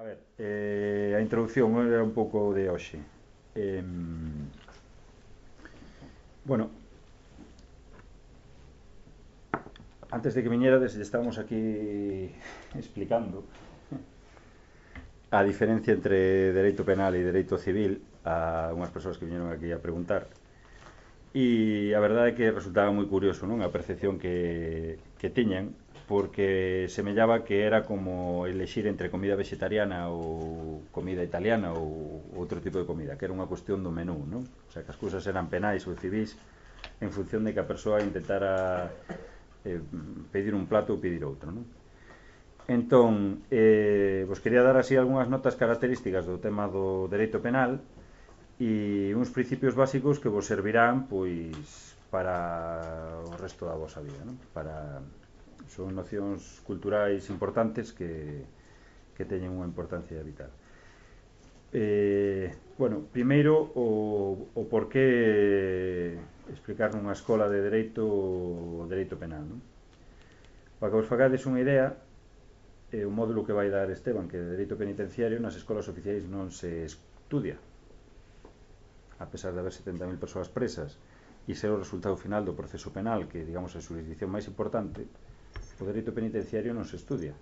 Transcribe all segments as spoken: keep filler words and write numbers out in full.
ver, eh, a introducción era un pouco de hoxe. Eh, bueno, antes de que viñerades, estábamos aquí explicando a diferencia entre dereito penal e dereito civil a unhas persoas que viñeron aquí a preguntar. E a verdade é que resultaba moi curioso, non? A percepción que, que tiñan, porque semellaba que era como elexir entre comida vegetariana ou comida italiana ou outro tipo de comida, que era unha cuestión do menú, non? O sea, que as cousas eran penais ou civis en función de que a persoa intentara eh, pedir un plato ou pedir outro, non? Entón, eh, vos quería dar así algunhas notas características do tema do dereito penal e uns principios básicos que vos servirán pois para o resto da vosa vida, non? Para son nocións culturais importantes que, que teñen unha importancia vital. Eh, bueno, primeiro o, o porqué explicar nunha escola de dereito o dereito penal, non? Para que vos fagades unha idea, eh, o módulo que vai dar Esteban, que é de dereito penitenciario, nas escolas oficiais non se estudia, a pesar de haber setenta mil persoas presas e ser o resultado final do proceso penal, que digamos é a xurisdicción máis importante, o dereito penitenciario non se estudia.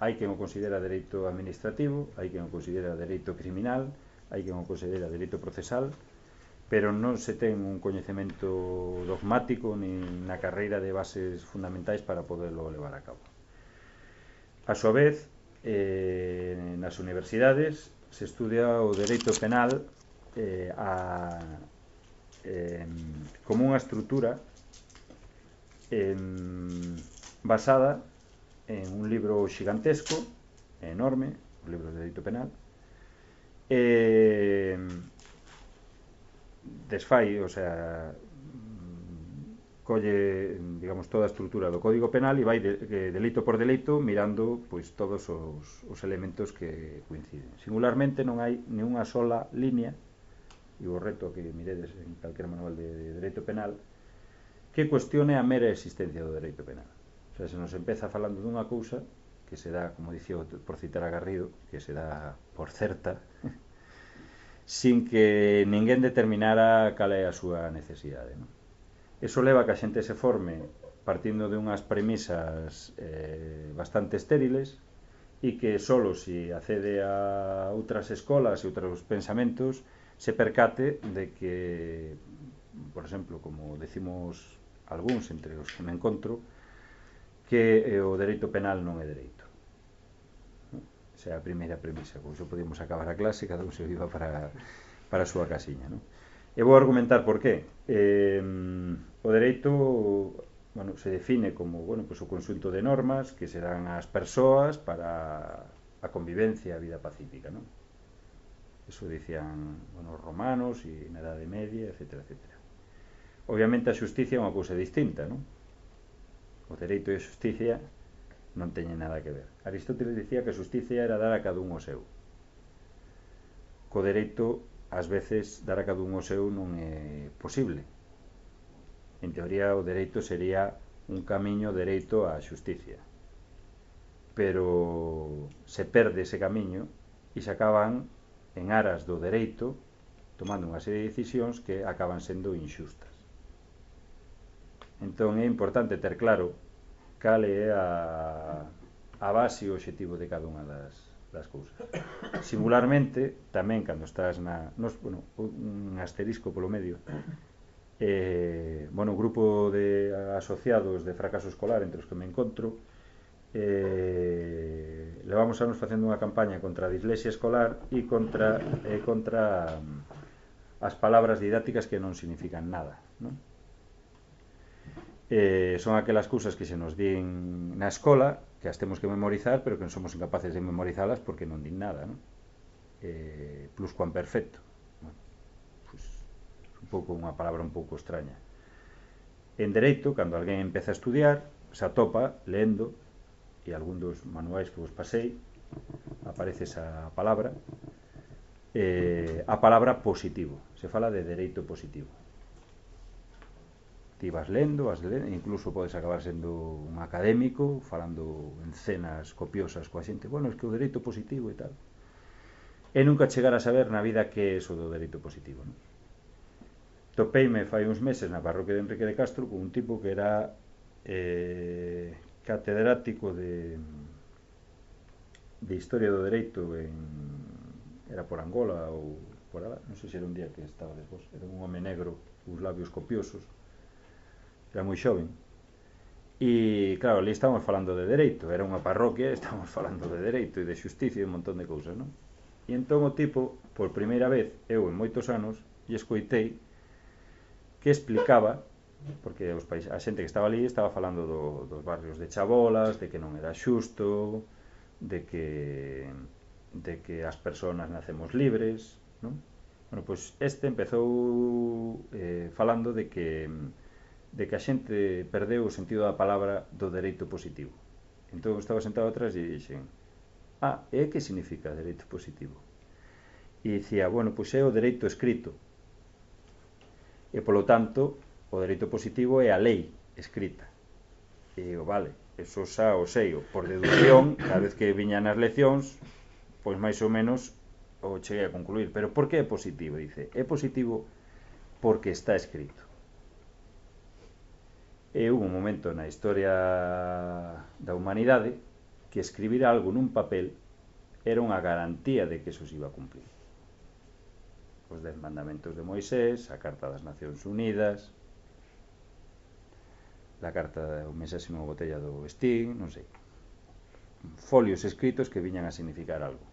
Hai quen o considera dereito administrativo, hai quen o considera dereito criminal, hai quen o considera dereito procesal, pero non se ten un coñecemento dogmático nin na carreira de bases fundamentais para poderlo levar a cabo. A súa vez, eh, nas universidades se estudia o dereito penal eh, a, eh, como unha estrutura eh, basada en un libro xigantesco, enorme, o libro de dereito penal, eh, desfai, o sea, colle, digamos, toda a estrutura do Código Penal e vai de, de, delito por delito mirando pois todos os, os elementos que coinciden. Singularmente non hai ni unha sola línea, e o reto que miredes en calquer manual de, de dereito penal, que cuestione a mera existencia do dereito penal. O sea, se nos empeza falando dunha cousa que se dá, como dicía por citar a Garrido, que se dá por certa, sin que ninguén determinara cal é a súa necesidade, non? Eso leva a que a xente se forme partindo de unhas premisas eh, bastante estériles e que solo se accede a outras escolas e outros pensamentos se percate de que, por exemplo, como decimos algúns entre os que me encontro, que eh, o dereito penal non é dereito. Esa é a primeira premisa. Pois podemos acabar a clase, cada un se viva para, para a súa casiña, non? E vou argumentar por qué. Eh, o dereito, bueno, se define como, bueno, pues, o conxunto de normas que se dan ás persoas para a convivencia e a vida pacífica, non? Eso dicían, bueno, os romanos e na Edade Media, etcétera, etcétera. Obviamente a xusticia é unha cousa distinta, non? O dereito e a xusticia non teñen nada que ver. Aristóteles dicía que a xusticia era dar a cada un o seu. Co dereito, ás veces, dar a cada un o seu non é posible. En teoría, o dereito sería un camiño dereito á xusticia. Pero se perde ese camiño e se acaban en aras do dereito tomando unha serie de decisións que acaban sendo inxustas. Entón é importante ter claro cal é a, a base e o obxectivo de cada unha das, das cousas. Singularmente, tamén cando estás na, nos, bueno, un asterisco polo medio, eh, bueno, o grupo de asociados de fracaso escolar entre os que me encontro, eh, levamos anos facendo unha campaña contra a dislexia escolar e contra, eh, contra um, as palabras didácticas que non significan nada, non? Eh, son aquelas cousas que se nos din na escola, que as temos que memorizar, pero que non somos incapaces de memorizalas porque non din nada, non? Eh, pluscuamperfecto, bueno, pues, un pouco unha palabra un pouco extraña. En dereito, cando alguén empeza a estudiar, se atopa lendo, e algún dos manuais que vos pasei aparece esa palabra, eh, a palabra positivo. Se fala de dereito positivo. ti vas lendo, vas lendo, incluso podes acabar sendo un académico falando en cenas copiosas coa xente, bueno, es que o dereito positivo e tal, e nunca chegar a saber na vida que é eso do dereito positivo, non? Topeime fai uns meses na parroquia de Enrique de Castro con un tipo que era eh, catedrático de de historia do dereito en, era por Angola ou por alá, non sei se era un día que estaba despois, era un home negro, uns labios copiosos, era moi xoven, e claro, ali estábamos falando de dereito, era unha parroquia, estábamos falando de dereito e de xusticia e un montón de cousas, non? E entón o tipo, por primeira vez, eu en moitos anos, e escoitei que explicaba, porque os país, a xente que estaba ali estaba falando do, dos barrios de chabolas, de que non era xusto, de que de que as persoas nacemos libres, non? Bueno, pois este empezou eh, falando de que de que a xente perdeu o sentido da palabra do dereito positivo. Entón estaba sentado atrás e dixen, ah, e que significa dereito positivo? E dicía, bueno, pois é o dereito escrito, e polo tanto o dereito positivo é a lei escrita. E digo, vale, eso xa o sei, por deducción, cada vez que viña nas leccións, pois máis ou menos o cheguei a concluir. Pero por que é positivo? Dice, é positivo porque está escrito. E hubo un momento na historia da humanidade que escribir algo nun papel era unha garantía de que eso se iba a cumplir. Os dez mandamentos de Moisés, a Carta das Nacións Unidas, la carta, o mensaxe nunha botella do Sting, non sei, folios escritos que viñan a significar algo.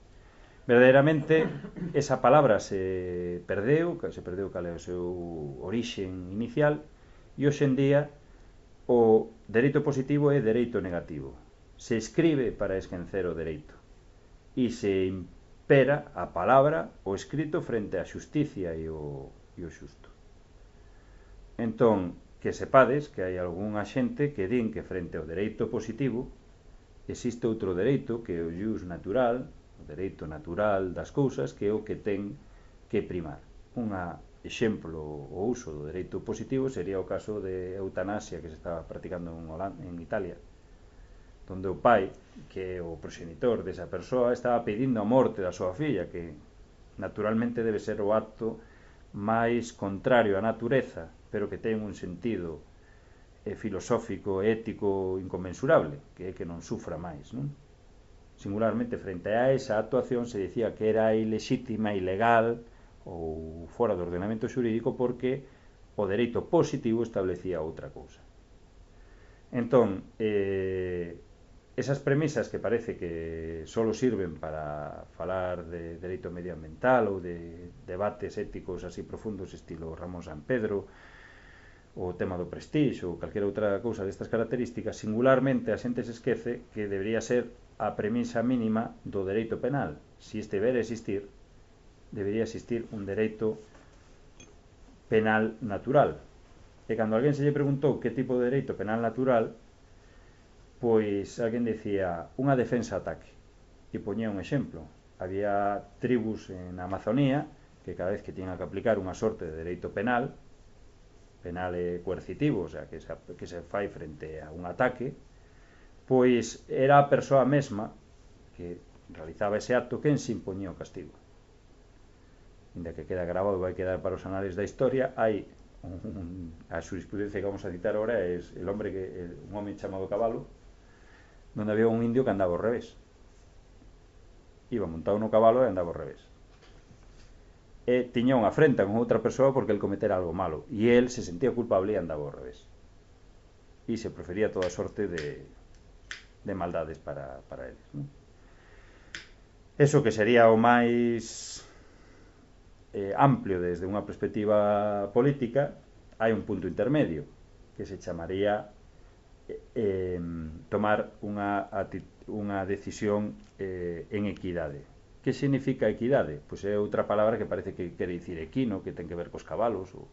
Verdadeiramente esa palabra se perdeu, se perdeu cal é o seu orixen inicial, e hoxe en día o dereito positivo é dereito negativo. Se escribe para esquecer o dereito e se impera a palabra, o escrito, frente á xusticia e o, e o xusto. Entón, que sepades que hai algunha xente que din que frente ao dereito positivo existe outro dereito que é o jus natural, o dereito natural das cousas, que é o que ten que primar. Un exemplo, o uso do dereito positivo sería o caso de eutanasia que se estaba practicando en, Holanda, en Italia, donde o pai, que é o proxenitor desa persoa, estaba pedindo a morte da súa filla, que naturalmente debe ser o acto máis contrario á natureza, pero que ten un sentido eh, filosófico e ético inconmensurable, que é que non sufra máis, non? Singularmente, frente a esa actuación se dicía que era ilexítima, ilegal ou fora do ordenamento xurídico porque o dereito positivo establecía outra cousa. Entón, eh, esas premisas que parece que solo sirven para falar de dereito medioambiental ou de debates éticos así profundos estilo Ramón Sampedro, o tema do prestixo ou calquera outra cousa destas características, singularmente a xente se esquece que debería ser a premisa mínima do dereito penal. Se este debera existir, debería existir un dereito penal natural. E cando alguén se lle preguntou que tipo de dereito penal natural, pois alguén decía unha defensa-ataque. E poñía un exemplo. Había tribus en Amazonía que cada vez que tiñan que aplicar unha sorte de dereito penal, penal e coercitivo, o sea, que se, que se fai frente a un ataque, pois era a persoa mesma que realizaba ese acto quen se impoñía o castigo. Inda que queda grabado, vai quedar para os anales da historia, hai un, a jurisprudencia que vamos a citar ahora é el hombre que, el, un home chamado Cabalo, donde había un indio que andaba ao revés. Iba montado no cabalo e andaba ao revés. E tiña unha afrenta con outra persoa porque el cometera algo malo, e el se sentía culpable e andaba ao revés. E se prefería toda sorte de, de maldades para, para eles, non? Eso que sería o máis eh, amplio desde unha perspectiva política, hai un punto intermedio que se chamaría eh, tomar unha, unha decisión eh, en equidade. Que significa equidade? Pois é outra palabra que parece que quere dicir equino, que ten que ver cos cabalos. Ou...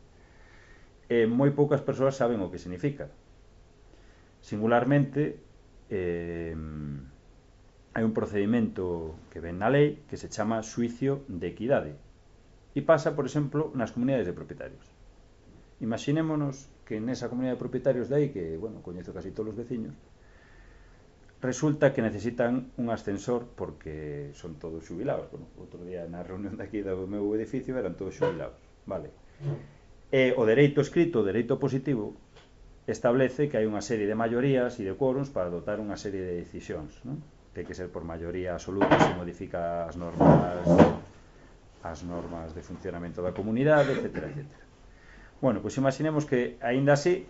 Eh, moi poucas persoas saben o que significa. Singularmente, eh, hai un procedimento que ven na lei que se chama xuicio de equidade. E pasa, por exemplo, nas comunidades de propietarios. Imaxinémonos que que nesa comunidade de propietarios de aí, que, bueno, coñezo casi todos os veciños, resulta que necesitan un ascensor porque son todos xubilados. Bueno, outro día na reunión de aquí do meu edificio eran todos xubilados, vale. E o dereito escrito, o dereito positivo, establece que hai unha serie de maiorías e de quórums para adoptar unha serie de decisións, non? Ten que ser por maioría absoluta se modifica as normas as normas de funcionamento da comunidade, etcétera, etcétera. Bueno, pois imaginemos que aínda así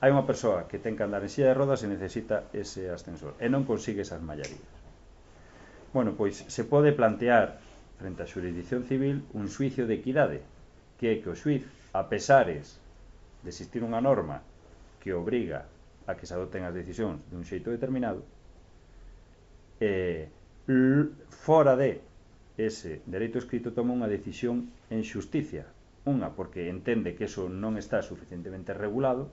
hai unha persoa que ten que andar en silla de rodas e necesita ese ascensor e non consigue esas maiorías. Bueno, pois se pode plantear frente á xurisdicción civil un xuicio de equidade, que é que o xuiz, a pesares de existir unha norma que obriga a que se adopten as decisións dun xeito determinado, eh, fora de ese dereito escrito toma unha decisión en xusticia. Unha, porque entende que eso non está suficientemente regulado,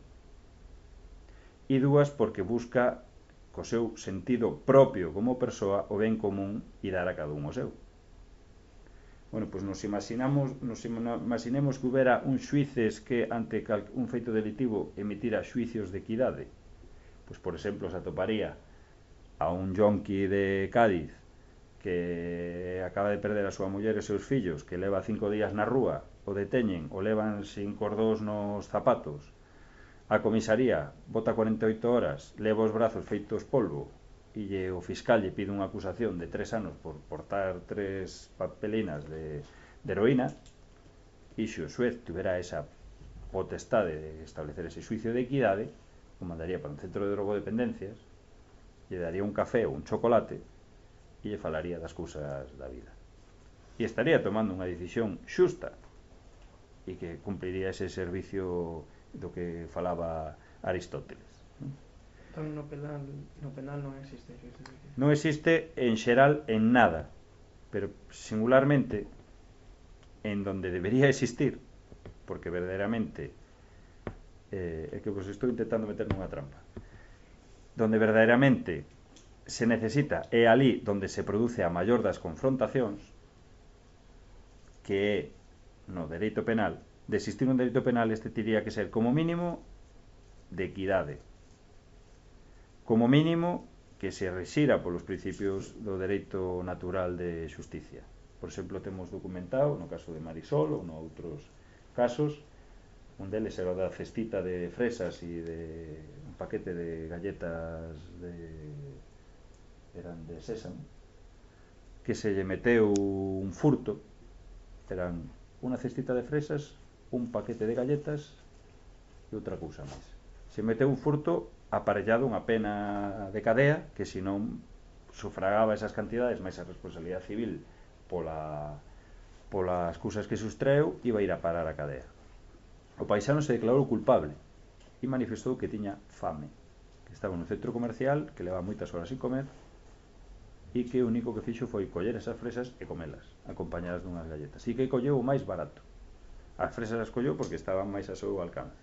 e dúas, porque busca co seu sentido propio como persoa o ben común e dar a cada un o seu. Bueno, pois nos imaginamos, nos imaginemos que houbera un xuíces que ante un feito delitivo emitira xuicios de equidade. Pois, por exemplo, se atoparía a un yonqui de Cádiz que acaba de perder a súa muller e seus fillos, que leva cinco días na rúa, o deteñen, o levan sin cordós nos zapatos, a comisaría bota cuarenta e oito horas, leva os brazos feitos polvo, e o fiscal lle pide unha acusación de tres anos por portar tres papelinas de, de heroína, e se o xuez tuvera esa potestade de establecer ese xuicio de equidade, o mandaría para un centro de drogodependencias, lle daría un café ou un chocolate e lle falaría das cousas da vida, e estaría tomando unha decisión xusta e que cumpliría ese servicio do que falaba Aristóteles. Entón no penal, no penal non existe xuicio de equidade. Non existe en xeral en nada, pero singularmente en donde debería existir, porque verdadeiramente eh, é que vos estou intentando meter nunha trampa, donde verdadeiramente se necesita, é ali donde se produce a maior das confrontacións, que é no dereito penal. De existir un dereito penal, este tiría que ser como mínimo de equidade, como mínimo que se rexira polos principios do dereito natural de xusticia. Por exemplo, temos documentado no caso de Marisol ou no outros casos, un deles era da cestita de fresas e de un paquete de galletas de eran de sésamo, que se lle meteu un furto, eran unha cestita de fresas, un paquete de galletas e outra cousa máis. Se meteu un furto aparellado unha pena de cadea que se non sufragaba esas cantidades máis a responsabilidade civil pola, polas cousas que sustreu, iba a ir a parar a cadea. O paisano se declarou culpable e manifestou que tiña fame, que estaba no centro comercial, que leva moitas horas sin comer e que o único que fixo foi coller esas fresas e comelas, acompañadas dunhas galletas, e que colleu o máis barato. As fresas as colleu porque estaban máis a seu alcance.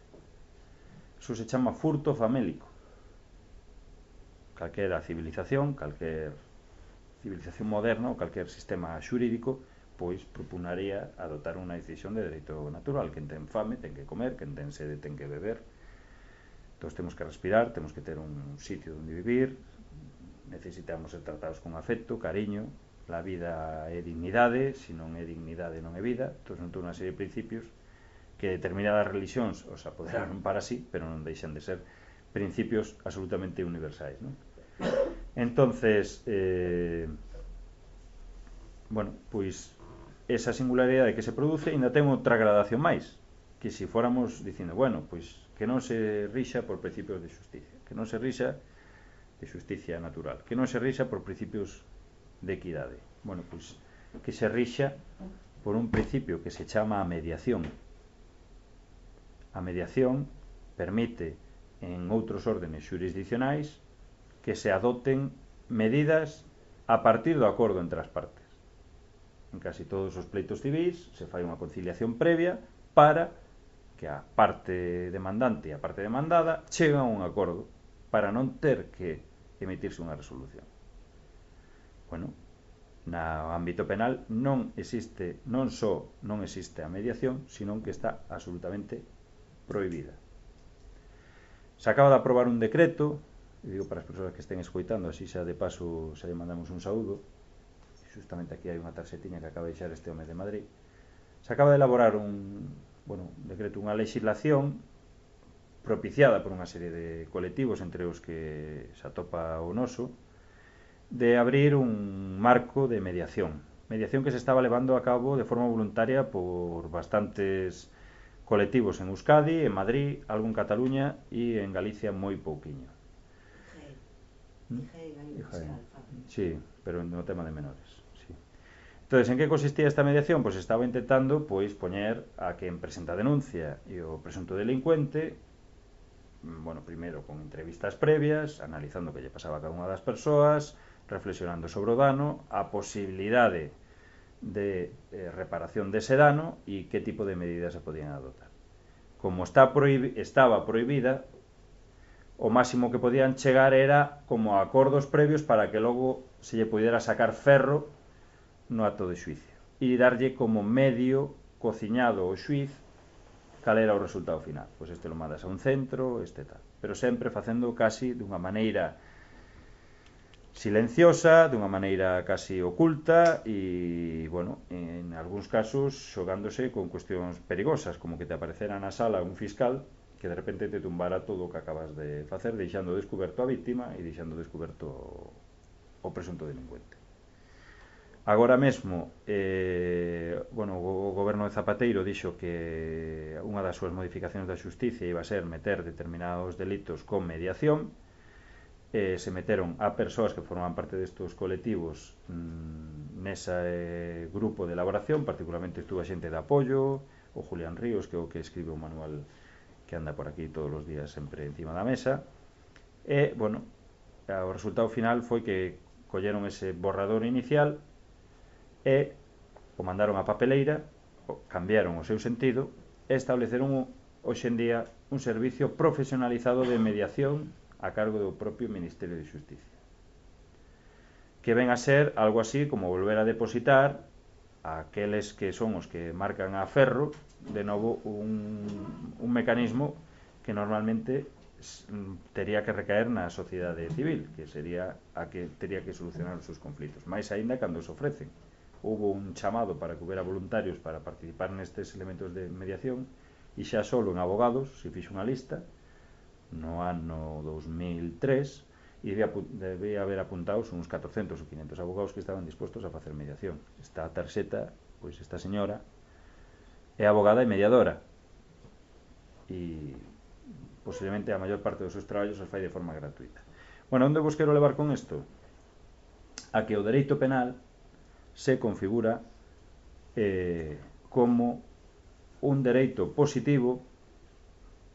Eso se chama furto famélico. Calquera civilización, calquer civilización moderna ou calquer sistema xurídico, pois propugnaría adotar unha decisión de dereito natural. Quen ten fame ten que comer, quen ten sede ten que beber. Todos temos que respirar, temos que ter un sitio onde vivir, necesitamos ser tratados con afecto, cariño. La vida é dignidade, se non é dignidade non é vida. Entón son toda unha serie de principios que determinadas religións os apoderaron para sí, pero non deixan de ser principios absolutamente universais, non? Entonces, eh, bueno, pois esa singularidade que se produce ainda ten outra gradación máis, que se fóramos dicindo, bueno, pois que non se rixa por principios de xusticia, que non se rixa de xusticia natural, que non se rixa por principios de equidade. Bueno, pois que se rixa por un principio que se chama a mediación. A mediación permite en outros órdenes xurisdiccionais que se adopten medidas a partir do acordo entre as partes. En casi todos os pleitos civis se fai unha conciliación previa para que a parte demandante e a parte demandada cheguen a un acordo para non ter que emitirse unha resolución. Bueno, no ámbito penal non existe, non só non existe a mediación, sino que está absolutamente prohibida. Se acaba de aprobar un decreto, e digo para as persoas que estén escoitando, así xa de paso xa lle mandamos un saúdo, justamente aquí hai unha tarxetiña que acaba de deixar este home de Madrid. Se acaba de elaborar un, bueno, un decreto, unha legislación propiciada por unha serie de colectivos, entre os que se atopa o noso, de abrir un marco de mediación. Mediación que se estaba levando a cabo de forma voluntaria por bastantes colectivos en Euskadi, en Madrid, algo en Cataluña e en Galicia moi pouquiño. Sí, pero no tema de menores. Sí. Entonces, en que consistía esta mediación? Pois pues estaba intentando pois poñer a quen presenta a denuncia e o presunto delincuente, bueno, primeiro con entrevistas previas, analizando o que lle pasaba a cada unha das persoas, reflexionando sobre o dano, a posibilidade de eh, reparación dese dano e que tipo de medidas se podían adoptar. Como está prohibi- estaba prohibida, o máximo que podían chegar era como a acordos previos para que logo se lle pudiera sacar ferro no acto de xuicio e darlle como medio cociñado o xuiz cal era o resultado final. Pois este lo mandas a un centro, este tal, pero sempre facendo casi dunha maneira silenciosa, dunha maneira casi oculta e, bueno, en algúns casos xogándose con cuestións perigosas, como que te aparecera na sala un fiscal que de repente te tumbara todo o que acabas de facer, deixando descuberto a víctima e deixando descuberto o presunto delincuente. Agora mesmo, eh, bueno, o goberno de Zapateiro dixo que unha das súas modificacións da xusticia iba a ser meter determinados delitos con mediación. Eh, se meteron a persoas que forman parte destos colectivos mmm, nesa eh, grupo de elaboración, particularmente estuvo a xente de apoio, o Julián Ríos, que é o que escribe o manual que anda por aquí todos os días sempre encima da mesa. E, bueno, o resultado final foi que colleron ese borrador inicial e o mandaron a papeleira, cambiaron o seu sentido e estableceron hoxe en día un servicio profesionalizado de mediación a cargo do propio Ministerio de Xusticia, que ven a ser algo así como volver a depositar a aqueles que son os que marcan a ferro de novo un, un mecanismo que normalmente tería que recaer na sociedade civil, que sería a que tería que solucionar os seus conflitos, máis aínda cando se ofrecen. Houve un chamado para que houbera voluntarios para participar nestes elementos de mediación e xa solo en abogados se fixo unha lista no ano dos mil tres e debía, debía haber apuntados uns catorcentos ou quinhentos abogados que estaban dispostos a facer mediación. Esta tarxeta, pois esta señora é abogada e mediadora e posiblemente a maior parte dos seus traballos os fai de forma gratuita. Bueno, onde vos quero levar con isto? A que o dereito penal se configura eh, como un dereito positivo,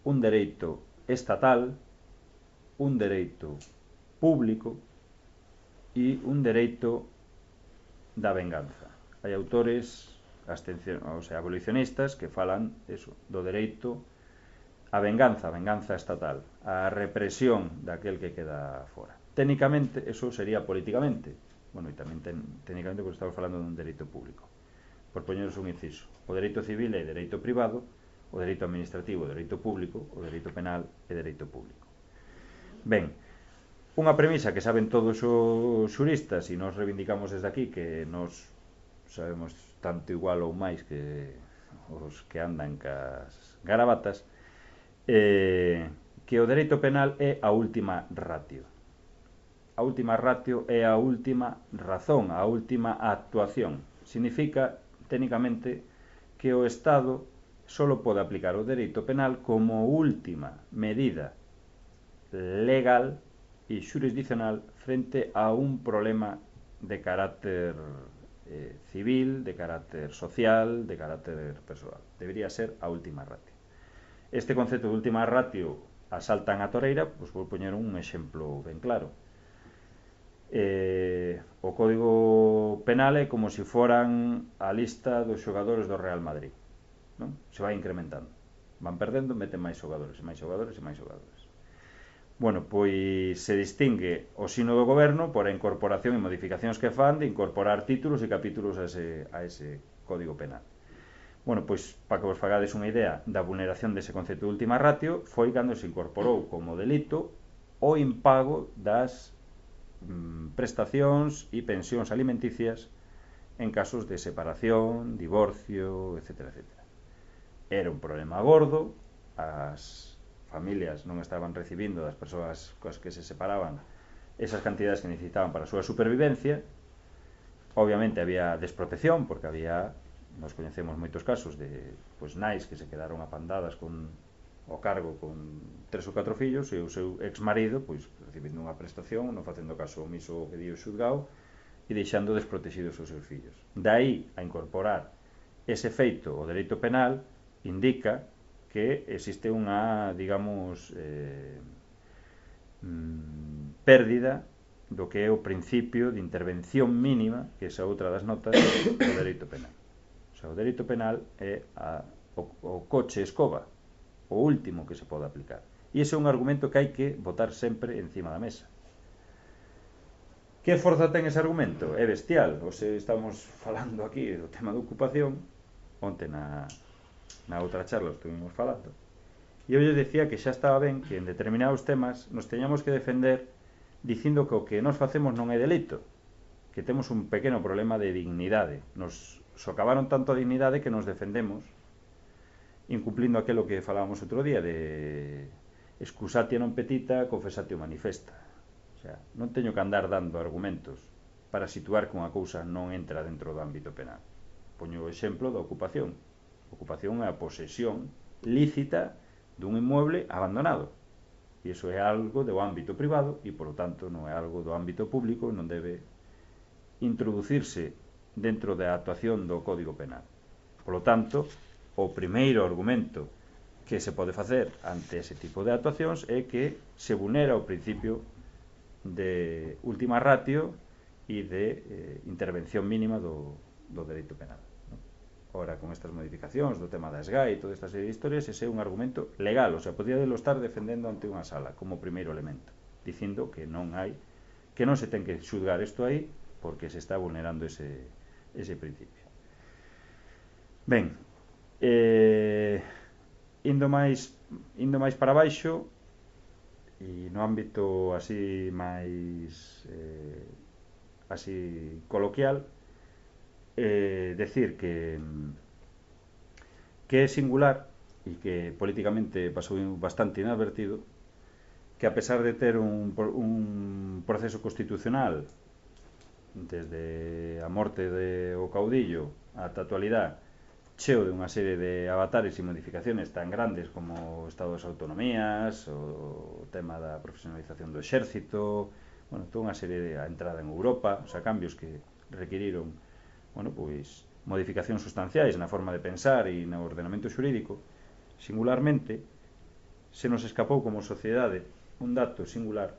un dereito estatal, un dereito público e un dereito da venganza. Hai autores abstención, o sea, abolicionistas que falan eso, do dereito a venganza, a venganza estatal, a represión daquel que queda fora. Técnicamente, eso sería políticamente. Bueno, e tamén ten, técnicamente porque estamos falando dun dereito público. Por poñeros un inciso, o dereito civil é dereito privado, o dereito administrativo é dereito público, o dereito penal é dereito público. Ben, unha premisa que saben todos os xuristas e nos reivindicamos desde aquí que nos sabemos tanto igual ou máis que os que andan cas garabatas, eh, que o dereito penal é a última ratio. A última ratio é a última razón, a última actuación. Significa, técnicamente, que o Estado solo pode aplicar o dereito penal como última medida legal e xurisdiccional frente a un problema de carácter eh, civil, de carácter social, de carácter persoal. Debería ser a última ratio. Este concepto de última ratio asaltan a toreira, pois vou poñer un exemplo ben claro. Eh, o Código Penal é como se foran a lista dos xogadores do Real Madrid, non? Se vai incrementando, van perdendo, meten máis xogadores e máis xogadores e máis xogadores. Bueno, pois se distingue o sino do goberno por a incorporación e modificacións que fan de incorporar títulos e capítulos a ese, a ese Código Penal. Bueno, pois, para que vos fagades unha idea da vulneración dese concepto de última ratio, foi cando se incorporou como delito o impago das mm, prestacións e pensións alimenticias en casos de separación, divorcio, etcétera, etcétera. Era un problema gordo, as familias non estaban recibindo das persoas coas que se separaban esas cantidades que necesitaban para a súa supervivencia. Obviamente había desprotección, porque había, nos coñecemos moitos casos de pois, nais que se quedaron apandadas con o cargo con tres ou catro fillos e o seu ex-marido pois, recibindo unha prestación, non facendo caso omiso que dio o xulgado e deixando desprotegidos os seus fillos. Daí a incorporar ese feito o dereito penal indica que existe unha, digamos, eh, mm, pérdida do que é o principio de intervención mínima, que é esa outra das notas do dereito penal. O sea, o dereito penal é a, o, o coche escoba, o último que se pode aplicar. E ese é un argumento que hai que botar sempre encima da mesa. Que forza ten ese argumento? É bestial. Ose estamos falando aquí do tema da ocupación, onte na, na outra charla estuvimos falando, e eu lle decía que xa estaba ben que en determinados temas nos teñamos que defender dicindo que o que nos facemos non é delito, que temos un pequeno problema de dignidade, nos socavaron tanto a dignidade que nos defendemos incumplindo aquilo que falábamos outro día de excusatio non petita, confesatio manifesta. O sea, non teño que andar dando argumentos para situar que unha cousa non entra dentro do ámbito penal. Poño o exemplo da ocupación. A ocupación é a posesión lícita dun inmueble abandonado. E iso é algo do ámbito privado e, polo tanto, non é algo do ámbito público e non debe introducirse dentro da actuación do Código Penal. Polo tanto, o primeiro argumento que se pode facer ante ese tipo de actuacións é que se vulnera o principio de última ratio e de eh, intervención mínima do, do dereito penal. Ora, con estas modificacións do tema da S G A E e toda esta serie de historias, ese é un argumento legal, o sea, podía delo estar defendendo ante unha sala como primeiro elemento, dicindo que non hai, que non se ten que xulgar isto aí porque se está vulnerando ese, ese principio. Ben, eh, indo máis indo máis para baixo e no ámbito así máis eh, así coloquial, Eh, decir que que é singular e que políticamente pasou bastante inadvertido que a pesar de ter un, un proceso constitucional desde a morte de o caudillo ata a actualidade cheo de unha serie de avatares e modificaciones tan grandes como o estado das autonomías, o tema da profesionalización do exército, bueno, toda unha serie de a entrada en Europa, o sea, cambios que requiriron bueno, pois, modificacións sustanciais na forma de pensar e no ordenamento xurídico, singularmente, se nos escapou como sociedade un dato singular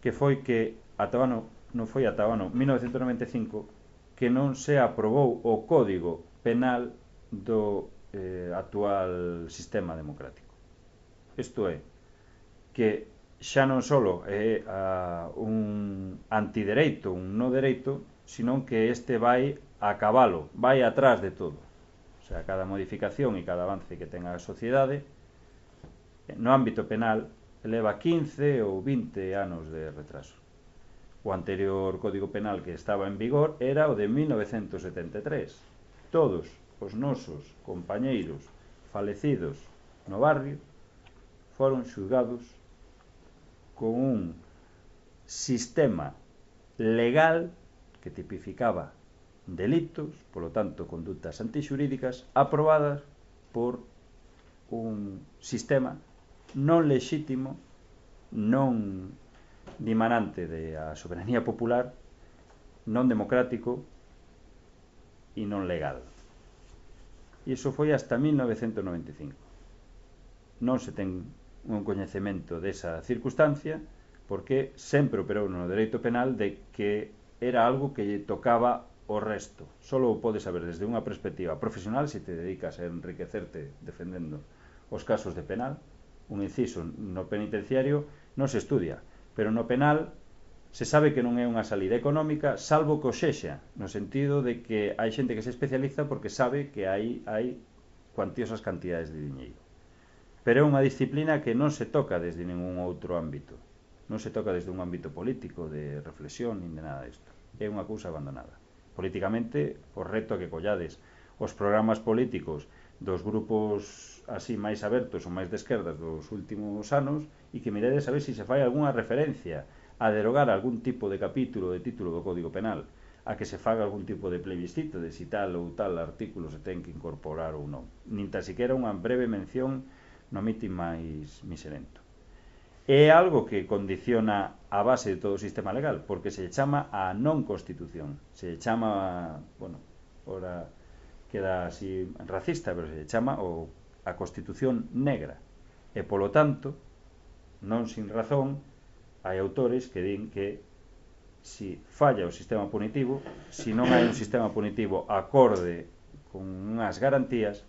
que foi que ata o ano, non foi ata o ano mil novecentos noventa e cinco que non se aprobou o Código Penal do eh, actual sistema democrático. Isto é, que xa non só é a, un antidereito, un no dereito, senón que este vai a cabalo, vai atrás de todo. O sea, cada modificación e cada avance que tenga a sociedade no ámbito penal leva quince ou vinte anos de retraso. O anterior Código Penal que estaba en vigor era o de mil novecentos setenta e tres. Todos os nosos compañeiros falecidos no barrio foron xulgados con un sistema legal que tipificaba delitos, polo tanto, condutas antixurídicas aprobadas por un sistema non lexítimo, non dimanante da soberanía popular, non democrático e non legal. E iso foi hasta mil novecentos noventa e cinco. Non se ten un coñecemento desa circunstancia porque sempre operou no dereito penal de que era algo que lle tocaba o resto. Solo o podes saber desde unha perspectiva profesional se te dedicas a enriquecerte defendendo os casos de penal. Un inciso no penitenciario non se estudia, pero no penal se sabe que non é unha salida económica, salvo que o sexa, no sentido de que hai xente que se especializa porque sabe que aí hai cuantiosas cantidades de diñeiro. Pero é unha disciplina que non se toca desde ningún outro ámbito. Non se toca desde un ámbito político, de reflexión, nin de nada disto. É unha cousa abandonada. Políticamente, o reto que collades os programas políticos dos grupos así máis abertos ou máis de esquerdas dos últimos anos e que miredes a ver se se fai algunha referencia a derogar algún tipo de capítulo de título do Código Penal, a que se faga algún tipo de plebiscito de si tal ou tal artículo se ten que incorporar ou non. Nin tan siquiera unha breve mención no mitin máis miserento. É algo que condiciona a base de todo o sistema legal, porque se chama a non constitución, se chama, bueno, ora queda así racista, pero se chama o, a constitución negra, e polo tanto, non sin razón, hai autores que din que si falla o sistema punitivo, si non hai un sistema punitivo acorde con unhas garantías,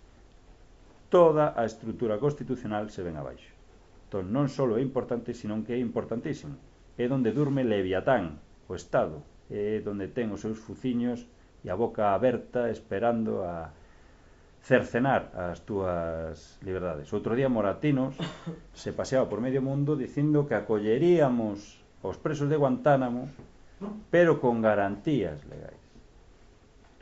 toda a estrutura constitucional se ven abaixo. Entón, non só é importante, senón que é importantísimo. É donde durme Leviatán, o Estado, é donde ten os seus fuciños e a boca aberta esperando a cercenar as túas liberdades. Outro día Moratinos se paseaba por medio mundo dicindo que acolleríamos aos presos de Guantánamo, pero con garantías legais.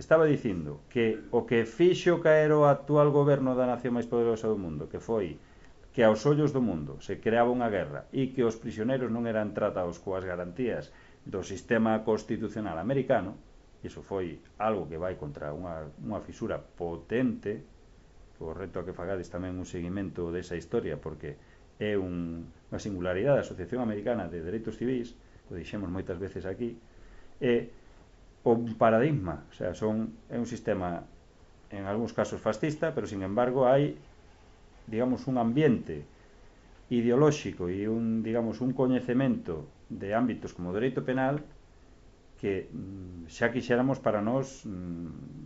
Estaba dicindo que o que fixo caer o actual goberno da nación máis poderosa do mundo, que foi que aos ollos do mundo se creaba unha guerra e que os prisioneiros non eran tratados coas garantías do sistema constitucional americano, iso foi algo que vai contra unha, unha fisura potente, o reto a que fagades tamén un seguimento desa historia, porque é un, unha singularidade da Asociación Americana de Dereitos Civis, o dixemos moitas veces aquí, é un paradigma, o sea, son, é un sistema en algúns casos fascista, pero sin embargo hai, digamos, un ambiente ideolóxico e un, digamos, un coñecemento de ámbitos como o dereito penal que xa quixéramos para nós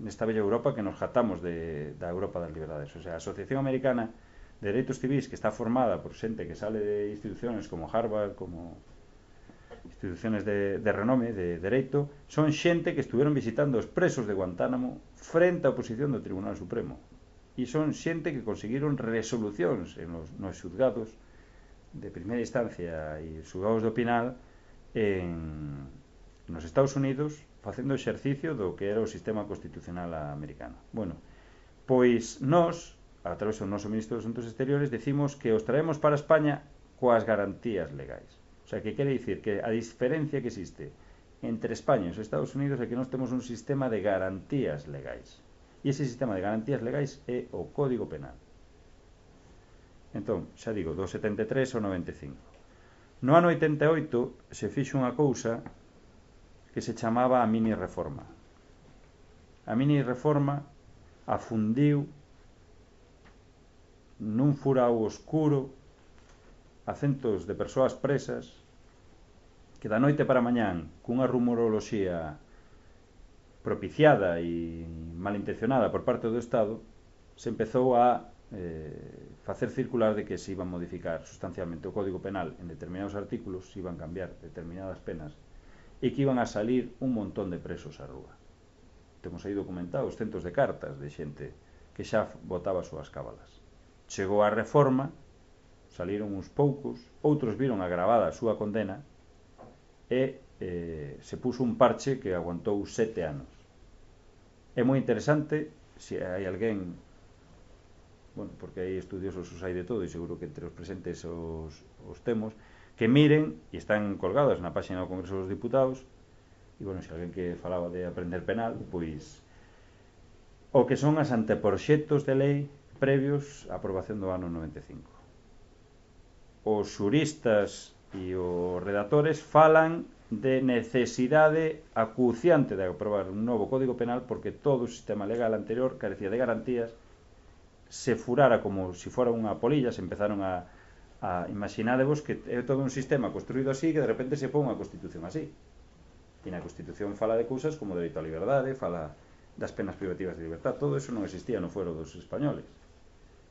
nesta bella Europa que nos jatamos de, da Europa das liberdades. O sea, a Asociación Americana de Dereitos Civis, que está formada por xente que sale de instituciones como Harvard, como instituciones de, de renome, de dereito, son xente que estuvieron visitando os presos de Guantánamo frente á oposición do Tribunal Supremo. E son xente que conseguiron resolucións en os, nos xuzgados de primeira instancia e xuzgados do penal en, nos Estados Unidos facendo exercicio do que era o sistema constitucional americano. Bueno, pois nós, a través do noso Ministro dos Asuntos Exteriores, decimos que os traemos para España coas garantías legais. O sea, que quere dicir que a diferencia que existe entre España e os Estados Unidos é que nós temos un sistema de garantías legais. E ese sistema de garantías legais é o Código Penal. Entón, xa digo, do setenta e tres ao noventa e cinco. No ano oitenta e oito se fixo unha cousa que se chamaba a mini reforma. A mini reforma afundiu nun furao oscuro a centos de persoas presas que da noite para mañán, cunha rumoroloxía propiciada e malintencionada por parte do Estado, se empezou a eh, facer circular de que se iban modificar sustancialmente o Código Penal en determinados artículos, se iban cambiar determinadas penas e que iban a salir un montón de presos á rúa. Temos aí documentados centos de cartas de xente que xa botaba as súas cábalas. Chegou a reforma, saliron uns poucos, outros viron agravada a súa condena e eh, se puso un parche que aguantou sete anos. É moi interesante, se hai alguén, bueno, porque hai estudiosos os hai de todo e seguro que entre os presentes os, os temos, que miren, e están colgados na página do Congreso dos Diputados, e bueno, se alguén que falaba de aprender penal, pois o que son as anteproxectos de lei previos á aprobación do ano noventa e cinco. Os xuristas e os redactores falan de necesidade acuciante de aprobar un novo Código Penal porque todo o sistema legal anterior carecía de garantías, se furara como se fora unha polilla, se empezaron a, a imaginadevos que é todo un sistema construído así que de repente se pon unha Constitución así. E na Constitución fala de cousas como o dereito á liberdade, fala das penas privativas de libertad, todo eso non existía no fuero dos españoles.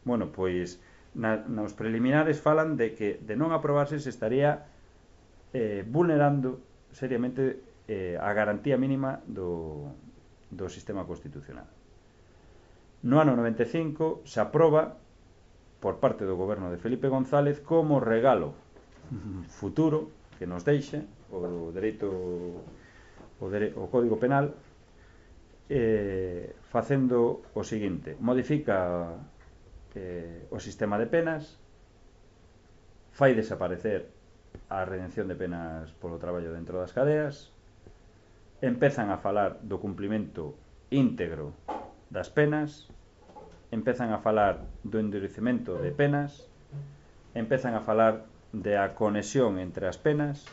Bueno, pois na, nos preliminares falan de que de non aprobarse se estaría eh, vulnerando seriamente eh, a garantía mínima do, do sistema constitucional. No ano noventa e cinco se aproba por parte do goberno de Felipe González como regalo futuro que nos deixe o dereito o, dere, o Código Penal, eh, facendo o seguinte: modifica eh, o sistema de penas, fai desaparecer a redención de penas polo traballo dentro das cadeas, empezan a falar do cumplimento íntegro das penas, empezan a falar do endurecemento de penas, empezan a falar de a conexión entre as penas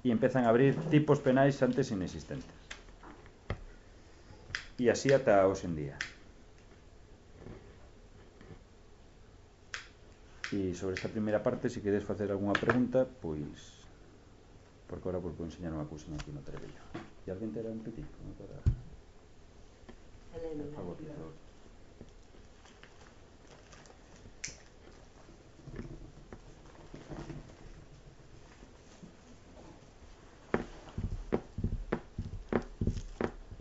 e empezan a abrir tipos penais antes inexistentes. E así ata hoxe en día. E sobre esta primeira parte, se queres facer algunha pregunta, pois, porque agora vos vou enseñar unha cousinha aquí no trebello. E alguén terá un petit? Para... Por favor, por favor.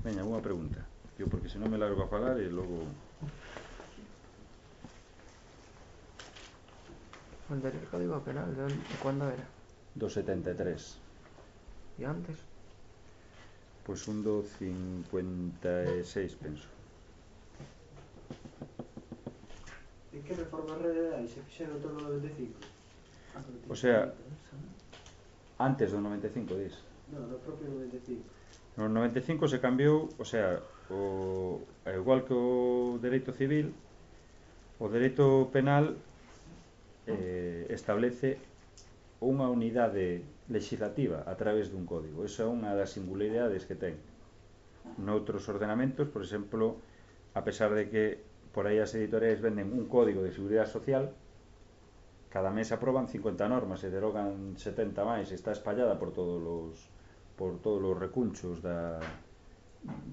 Veña, alguna pregunta? Yo, porque se non me largo a falar e logo... El del Código Penal, ¿de cuándo era? Do setenta e tres. ¿Y antes? Pois un do cincuenta e seis, penso. E que reformas reais se fixeron todo no noventa e cinco? O sea, antes do noventa e cinco, dis? Non, no propio noventa e cinco. No noventa e cinco se cambiou, o sea, o, igual que o dereito civil, o dereito penal eh, establece unha unidade legislativa a través dun código. Esa é unha das singularidades que ten. Noutros ordenamentos, por exemplo, a pesar de que por aí as editoriais venden un código de seguridade social, cada mes aproban cincuenta normas e derogan setenta máis, e está espallada por todos os por todos os recunchos da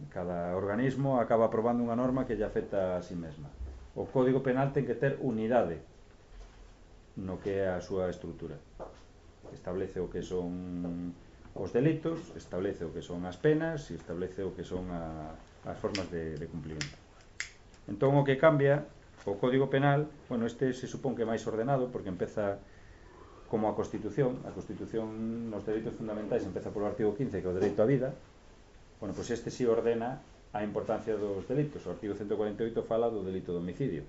cada organismo acaba aprobando unha norma que lle afecta a si mesma. O Código Penal ten que ter unidade no que é a súa estrutura. Establece o que son os delitos, establece o que son as penas e establece o que son a, as formas de, de cumplimento. Entón o que cambia o Código Penal, bueno, este se supón que é máis ordenado porque empeza como a Constitución. A Constitución nos dereitos fundamentais empeza polo artigo quince, que é o dereito á vida. Bueno, pois este si ordena a importancia dos delitos. O artigo ciento cuarenta e oito fala do delito de homicidio.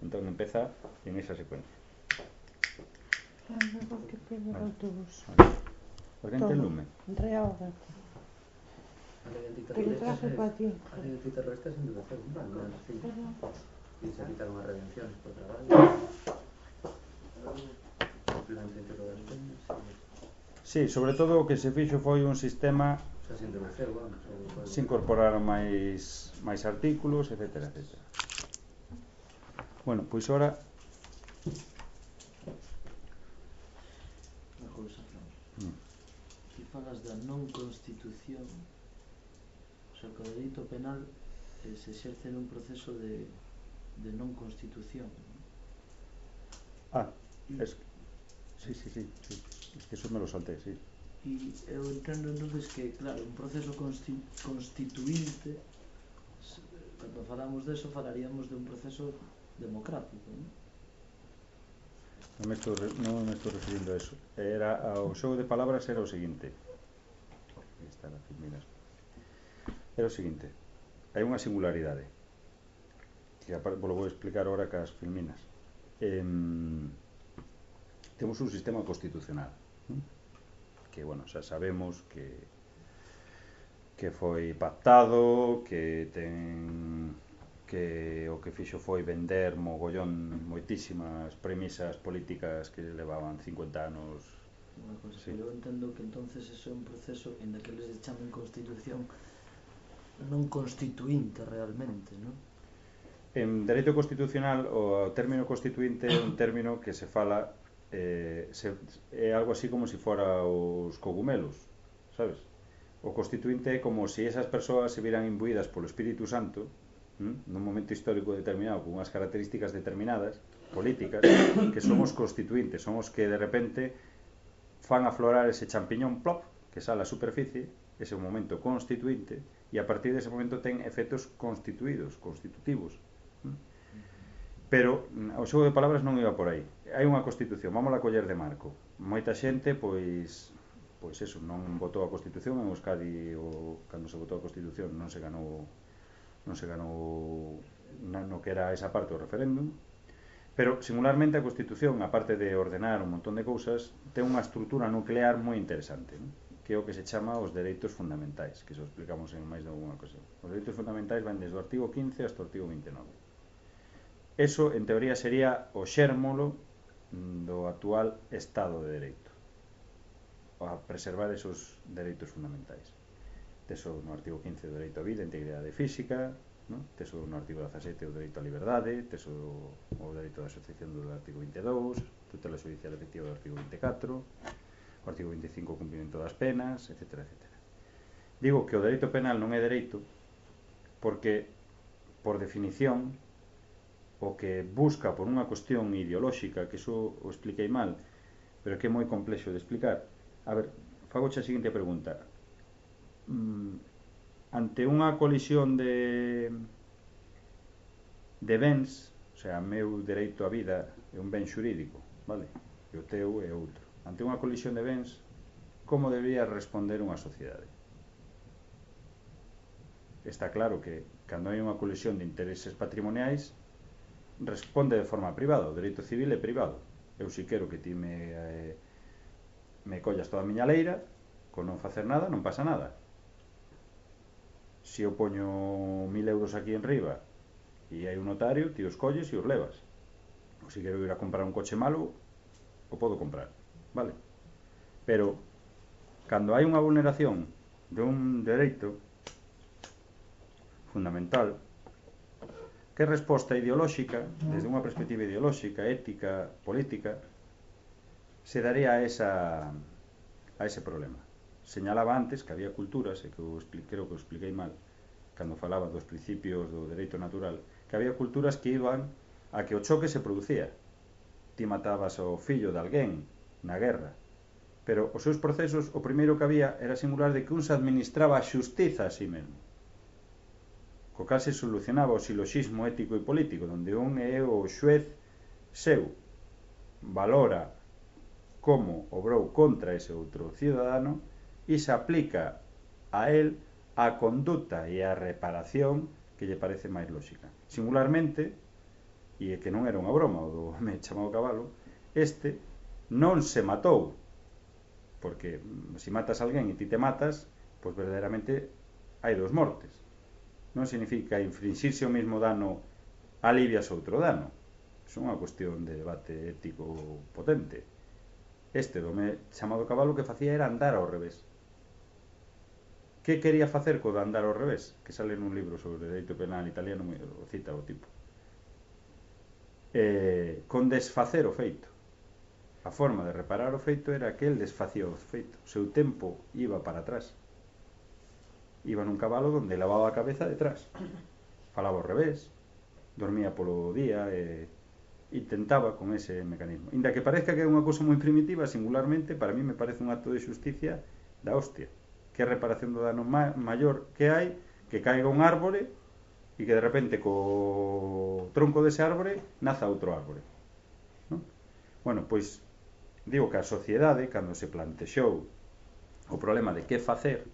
Entón empeza en esa secuencia. Que pega o autobús. Alguén ten lume? Reaga. Que le traje para ti. A lei antiterrorista sen duración, non sei. E se quitaron as redencións por traballo. Complemento íntegro das penas. Sí, sobre todo o que se fixo foi un sistema O sea, sin duración, vamos. se incorporaron máis máis artículos, etcétera, etcétera. Bueno, pois ora Unha cousa, mm. Ti falas da non constitución, o sea, que o dereito penal eh, se exerce nun proceso de, de non constitución, ¿no? Ah, es... sí, sí, sí, sí, es que eso me lo salté, sí. E eu entendo entonces que, claro, un proceso consti constituinte, cando falamos deso, falaríamos de un proceso democrático, ¿no? Non me estou, non me estou referindo a eso. Era, o xogo de palabras era o seguinte. Está na filminas. Era o seguinte. Hai unha singularidade que vos vou explicar agora cas filminas. Eh, temos un sistema constitucional, ¿no? Que, bueno, xa sabemos que que foi pactado, que ten que o que fixo foi vender mogollón moitísimas premisas políticas que levaban cincuenta anos. Unha cosa, sí. Eu entendo que entonces eso é un proceso en que les chamen constitución non constituinte realmente, non? En dereito constitucional o término constituinte é un término que se fala eh, se, é algo así como se si fora os cogumelos, sabes? O constituinte é como se si esas persoas se viran imbuídas polo Espírito Santo, ¿Mm? nun momento histórico determinado, con unhas características determinadas, políticas, que somos constituintes, somos que de repente fan aflorar ese champiñón plop, que sale á superficie, ese momento constituinte, e a partir dese momento ten efectos constituídos, constitutivos. Pero o xogo de palabras non iba por aí. Hai unha Constitución, vamos a coller de marco. Moita xente, pois, pois eso, non votou a Constitución. En Euskadi, o, cando se votou a Constitución, non se ganou, non se ganou no que era esa parte do referéndum. Pero, singularmente, a Constitución, aparte de ordenar un montón de cousas, ten unha estrutura nuclear moi interesante, non? Que é o que se chama os dereitos fundamentais, que se explicamos en máis de alguna ocasión. Os dereitos fundamentais van desde o artigo quince hasta o artigo vinte e nove. Eso, en teoría, sería o xérmolo do actual Estado de Dereito, a preservar esos dereitos fundamentais. Teso no artigo quince o dereito á vida, a integridade física, no? Teso no artigo dezasete o dereito á liberdade, teso o dereito de asociación do artigo vinte e dous, tutela judicial efectiva do artigo vinte e catro, o artigo vinte e cinco o cumprimento das penas, etcétera, etcétera. Digo que o dereito penal non é dereito porque, por definición, o que busca por unha cuestión ideolóxica, que iso o expliquei mal, pero que é moi complexo de explicar. A ver, fago a seguinte pregunta. Mm, ante unha colisión de de bens, o sea, meu dereito á vida é un ben xurídico, vale? E o teu é outro. Ante unha colisión de bens, como debería responder unha sociedade? Está claro que, cando hai unha colisión de intereses patrimoniais, responde de forma privada. O dereito civil é privado. Eu si quero que ti me eh, me collas toda a miña leira, con non facer nada, non pasa nada. Se eu poño mil euros aquí en riba e hai un notario, ti os colles e os levas. Ou se quero ir a comprar un coche malo, o podo comprar, vale? Pero cando hai unha vulneración de un dereito fundamental, que resposta ideolóxica, desde unha perspectiva ideolóxica, ética, política, se daría a, esa, a ese problema? Señalaba antes que había culturas, e que eu expliquei, creo que o expliquei mal, cando falaba dos principios do dereito natural, que había culturas que iban a que o choque se producía. Ti matabas ao fillo de alguén na guerra, pero os seus procesos, o primeiro que había era singular de que un se administraba a xustiza a si mesmo, co cal se solucionaba o siloxismo ético e político, donde un é o xuez seu, valora como obrou contra ese outro cidadano e se aplica a él a conduta e a reparación que lle parece máis lóxica. Singularmente, e que non era unha broma o do home chamado Cabalo, este non se matou, porque se matas a alguén e ti te matas, pois verdadeiramente hai dos mortes. Non significa infringirse o mesmo dano alivias outro dano. Iso é unha cuestión de debate ético potente. Este dome chamado Cabalo que facía era andar ao revés. Que quería facer co de andar ao revés? Que sale nun libro sobre dereito penal italiano, o cita o tipo. Eh, con desfacer o feito. A forma de reparar o feito era que el desfacía o feito. O seu tempo iba para atrás. Iba nun cabalo donde lavaba a cabeza detrás, falaba ao revés, dormía polo día e intentaba con ese mecanismo. Inda que parezca que é unha cousa moi primitiva, singularmente, para mí me parece un acto de xusticia da hostia. Que é reparación do dano ma maior que hai, que caiga un árbore e que de repente co tronco dese árbore naza outro árbore, non? Bueno, pois digo que a sociedade, cando se plantexou o problema de que facer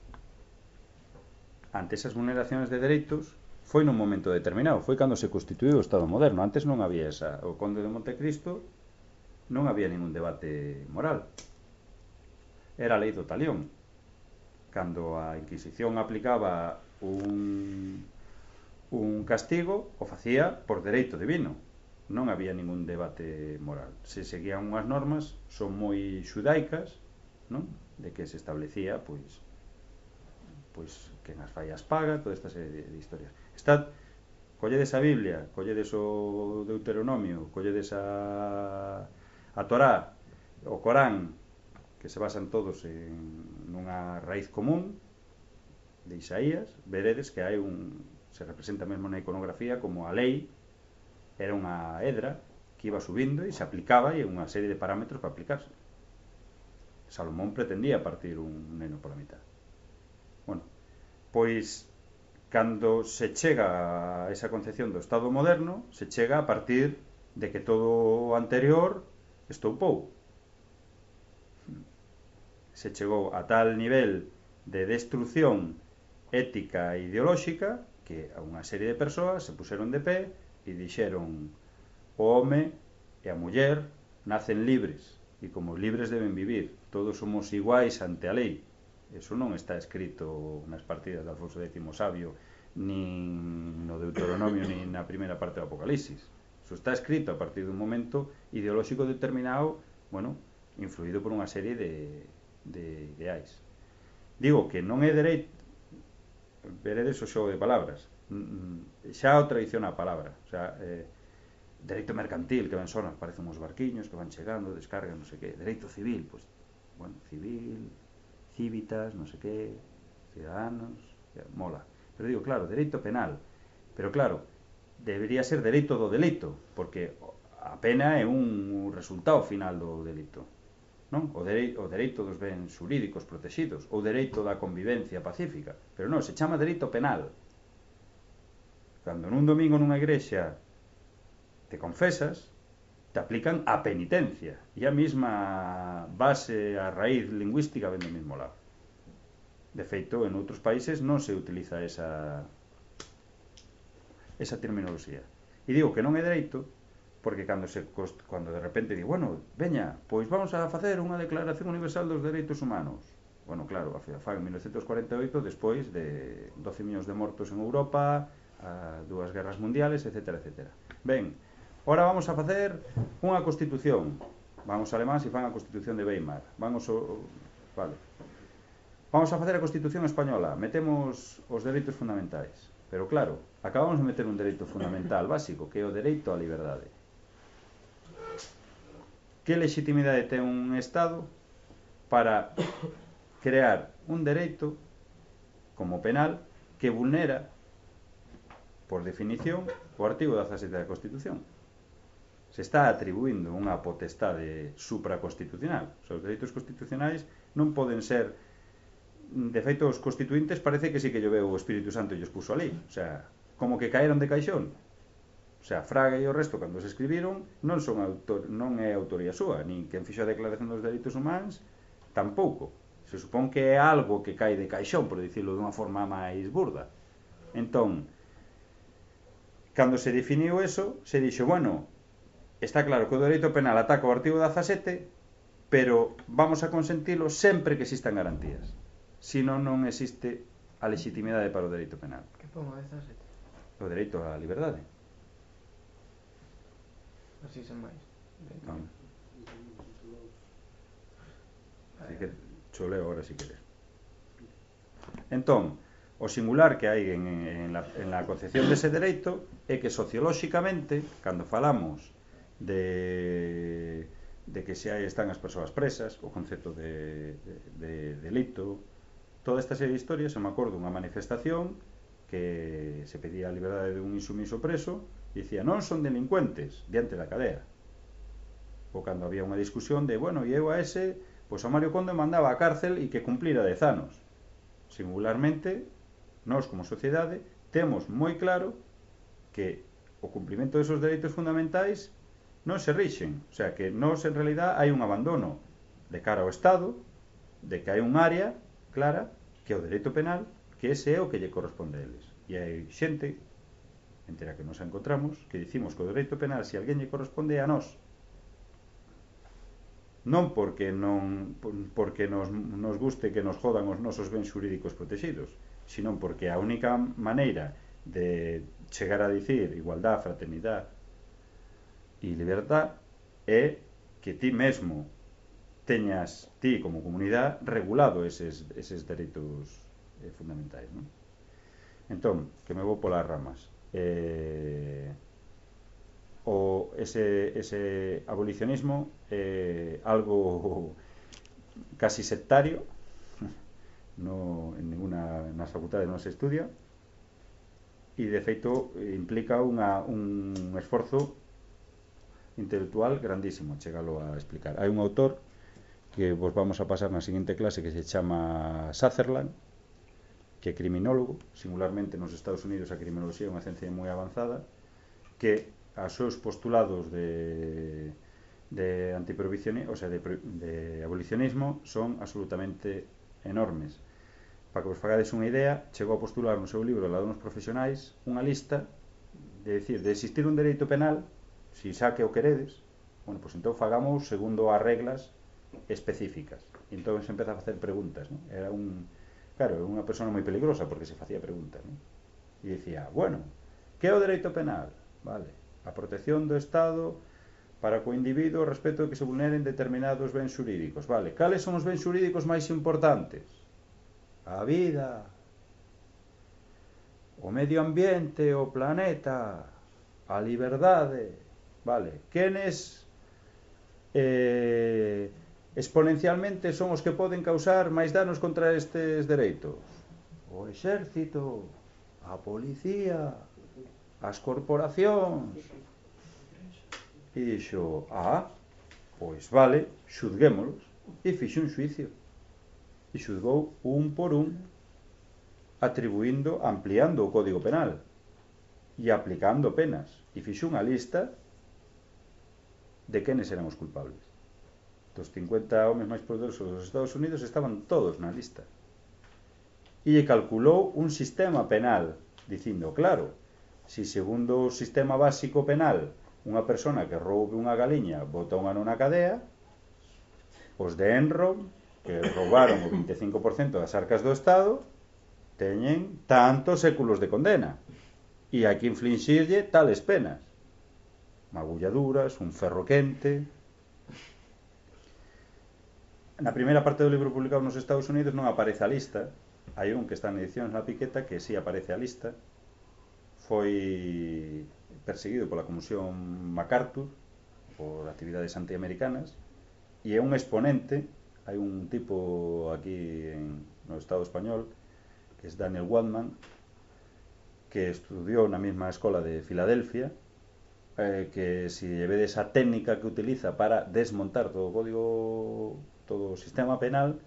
ante esas vulneraciones de dereitos, foi nun momento determinado, foi cando se constituíu o Estado moderno. Antes non había esa, o Conde de Montecristo non había ningún debate moral, era a lei do talión. Cando a Inquisición aplicaba un, un castigo, o facía por dereito divino, non había ningún debate moral. Se seguían unhas normas, son moi xudaicas, non? De que se establecía, pois, pois que nas fallas paga, toda esta serie de, de historias. Estad, colledes a Biblia, colledes o Deuteronomio, colledes a, a Torá, o Corán, que se basan todos en nunha raíz común de Isaías, veredes que hai un, se representa mesmo na iconografía como a lei era unha hedra que iba subindo e se aplicaba e unha serie de parámetros para aplicarse. Salomón pretendía partir un neno pola mitad. Bueno, pois cando se chega a esa concepción do Estado moderno, se chega a partir de que todo o anterior estoupou. Se chegou a tal nivel de destrucción ética e ideolóxica que a unha serie de persoas se puseron de pé e dixeron: o home e a muller nacen libres e como libres deben vivir, todos somos iguais ante a lei. Eso non está escrito nas partidas de Alfonso décimo Sabio, nin no Deuteronomio, nin na primeira parte do Apocalipsis. Eso está escrito a partir dun momento ideolóxico determinado, bueno, influído por unha serie de, de ideais. Digo que non é dereito, veredes o xogo de palabras, xa o traiciona a palabra, o sea, eh, dereito mercantil, que ben sonas, parecen uns barquiños que van chegando, descargan, non sei que. Dereito civil, pois, bueno, civil, cívitas, non sei que, ciudadanos, mola. Pero digo, claro, dereito penal, pero claro, debería ser dereito do delito, porque a pena é un resultado final do delito, non? O, dere o dereito dos bens xurídicos protegidos, ou dereito da convivencia pacífica, pero non, se chama dereito penal. Cando nun domingo nunha igrexa te confesas, te aplican a penitencia, e a mesma base, a raíz lingüística ven do mesmo lado. De feito, en outros países non se utiliza esa esa terminoloxía. E digo que non é dereito porque cando se cando de repente digo, bueno, veña, pois vamos a facer unha declaración universal dos dereitos humanos. Bueno, claro, a fan en mil novecentos cuarenta e oito, despois de doce millóns de mortos en Europa, a dúas guerras mundiales, etcétera, etcétera. Ben, ora vamos a facer unha constitución. Van os alemáns e fan a constitución de Weimar. Van os... Vale. Vamos a facer a constitución española. Metemos os dereitos fundamentais. Pero claro, acabamos de meter un dereito fundamental básico, que é o dereito á liberdade. Que legitimidade ten un Estado para crear un dereito como penal que vulnera, por definición, o artigo dezasete da Constitución? Se está atribuindo unha potestade supraconstitucional. Os dereitos constitucionais non poden ser, de feito, os constituintes parece que sí que lloveu o Espírito Santo e os puso ali, o sea, como que caeron de caixón. O sea, Fraga e o resto, cando se escribiron, non son autor, non é autoría súa, nin quen fixo a Declaración dos Dereitos Humanos, tampouco. Se supón que é algo que cae de caixón, por dicirlo dunha forma máis burda. Entón, cando se definiu eso, se dixo, bueno, está claro que o dereito penal ataca o artigo dezasete, pero vamos a consentilo sempre que existan garantías. Si non, non existe a legitimidade para o dereito penal. Que pongo dezasete? O dereito á liberdade. Así sen máis. Non. Así que choleo ahora si queres. Entón, o singular que hai en, en, la, en la concepción dese dereito é que sociolóxicamente, cando falamos de, de que se hai, están as persoas presas, o concepto de, de, de delito, toda esta serie de historias, eu me acordo unha manifestación que se pedía a liberdade de un insumiso preso e dicía, non son delincuentes diante da cadea. Ou cando había unha discusión de, bueno, e eu a ese, pois a Mario Conde mandaba a cárcel e que cumplira dez anos. Singularmente, nós como sociedade temos moi claro que o cumprimento desos dereitos fundamentais non se rixen, o sea, que nós en realidad hai un abandono de cara ao Estado, de que hai un área clara, que é o dereito penal, que ese é o que lle corresponde a eles. E hai xente, entre a que nos encontramos, que dicimos que o dereito penal, se alguén lle corresponde, é a nós. Non porque non porque nos, nos guste que nos jodan os nosos bens xurídicos protegidos, sino porque a única maneira de chegar a dicir igualdad, fraternidade e liberdad é que ti mesmo teñas, ti como comunidade, regulado eses, eses dereitos eh, fundamentais, non? Entón, que me vou polas ramas. Eh, o ese, ese abolicionismo é eh, algo casi sectario, no, en ninguna nas facultades non se estudia, e de feito implica unha, un esforzo intelectual grandísimo chegalo a explicar. Hai un autor que vos vamos a pasar na seguinte clase, que se chama Sutherland, que é criminólogo. Singularmente nos Estados Unidos a criminoloxía é unha ciencia moi avanzada, que os seus postulados de, de antiprohibicionismo, o sea, de, de abolicionismo, son absolutamente enormes. Para que vos fagades unha idea, chegou a postular no seu libro Ladróns Profesionais unha lista de decir, de existir un dereito penal, si xa que o queredes, bueno, pois entón fagamos segundo as reglas específicas. E entón se empeza a facer preguntas, ¿no? Era un, claro, unha persona moi peligrosa porque se facía preguntas, ¿no? E dicía, bueno, que é o dereito penal? Vale, a protección do Estado para co individuo respecto de que se vulneren determinados bens xurídicos. Vale, cales son os bens xurídicos máis importantes? A vida, o medio ambiente, o planeta, a liberdade. Vale, quenes eh, exponencialmente son os que poden causar máis danos contra estes dereitos? O exército, a policía, as corporacións. E dixo, ah, pois vale, xudguémolos. E fixo un xuicio. E xudgou un por un, atribuindo, ampliando o Código Penal e aplicando penas. E fixo unha lista de quenes eran os culpables. Dos cincuenta homes máis poderosos dos Estados Unidos estaban todos na lista. E lle calculou un sistema penal, dicindo, claro, si segundo o sistema básico penal unha persona que roube unha galiña bota un ano na cadea, os de Enron, que roubaron o vinte e cinco por cento das arcas do Estado, teñen tantos séculos de condena, e hai que infligirlle tales penas, magulladuras, un ferro quente. Na primeira parte do libro publicado nos Estados Unidos non aparece a lista. Hai un que está en edicións na Piqueta que sí aparece a lista. Foi perseguido pola Comisión MacArthur por actividades antiamericanas e é un exponente. Hai un tipo aquí en, no Estado español que é Daniel Waldman, que estudiou na mesma escola de Filadelfia, eh, que se vedes a técnica que utiliza para desmontar todo o código, todo o sistema penal,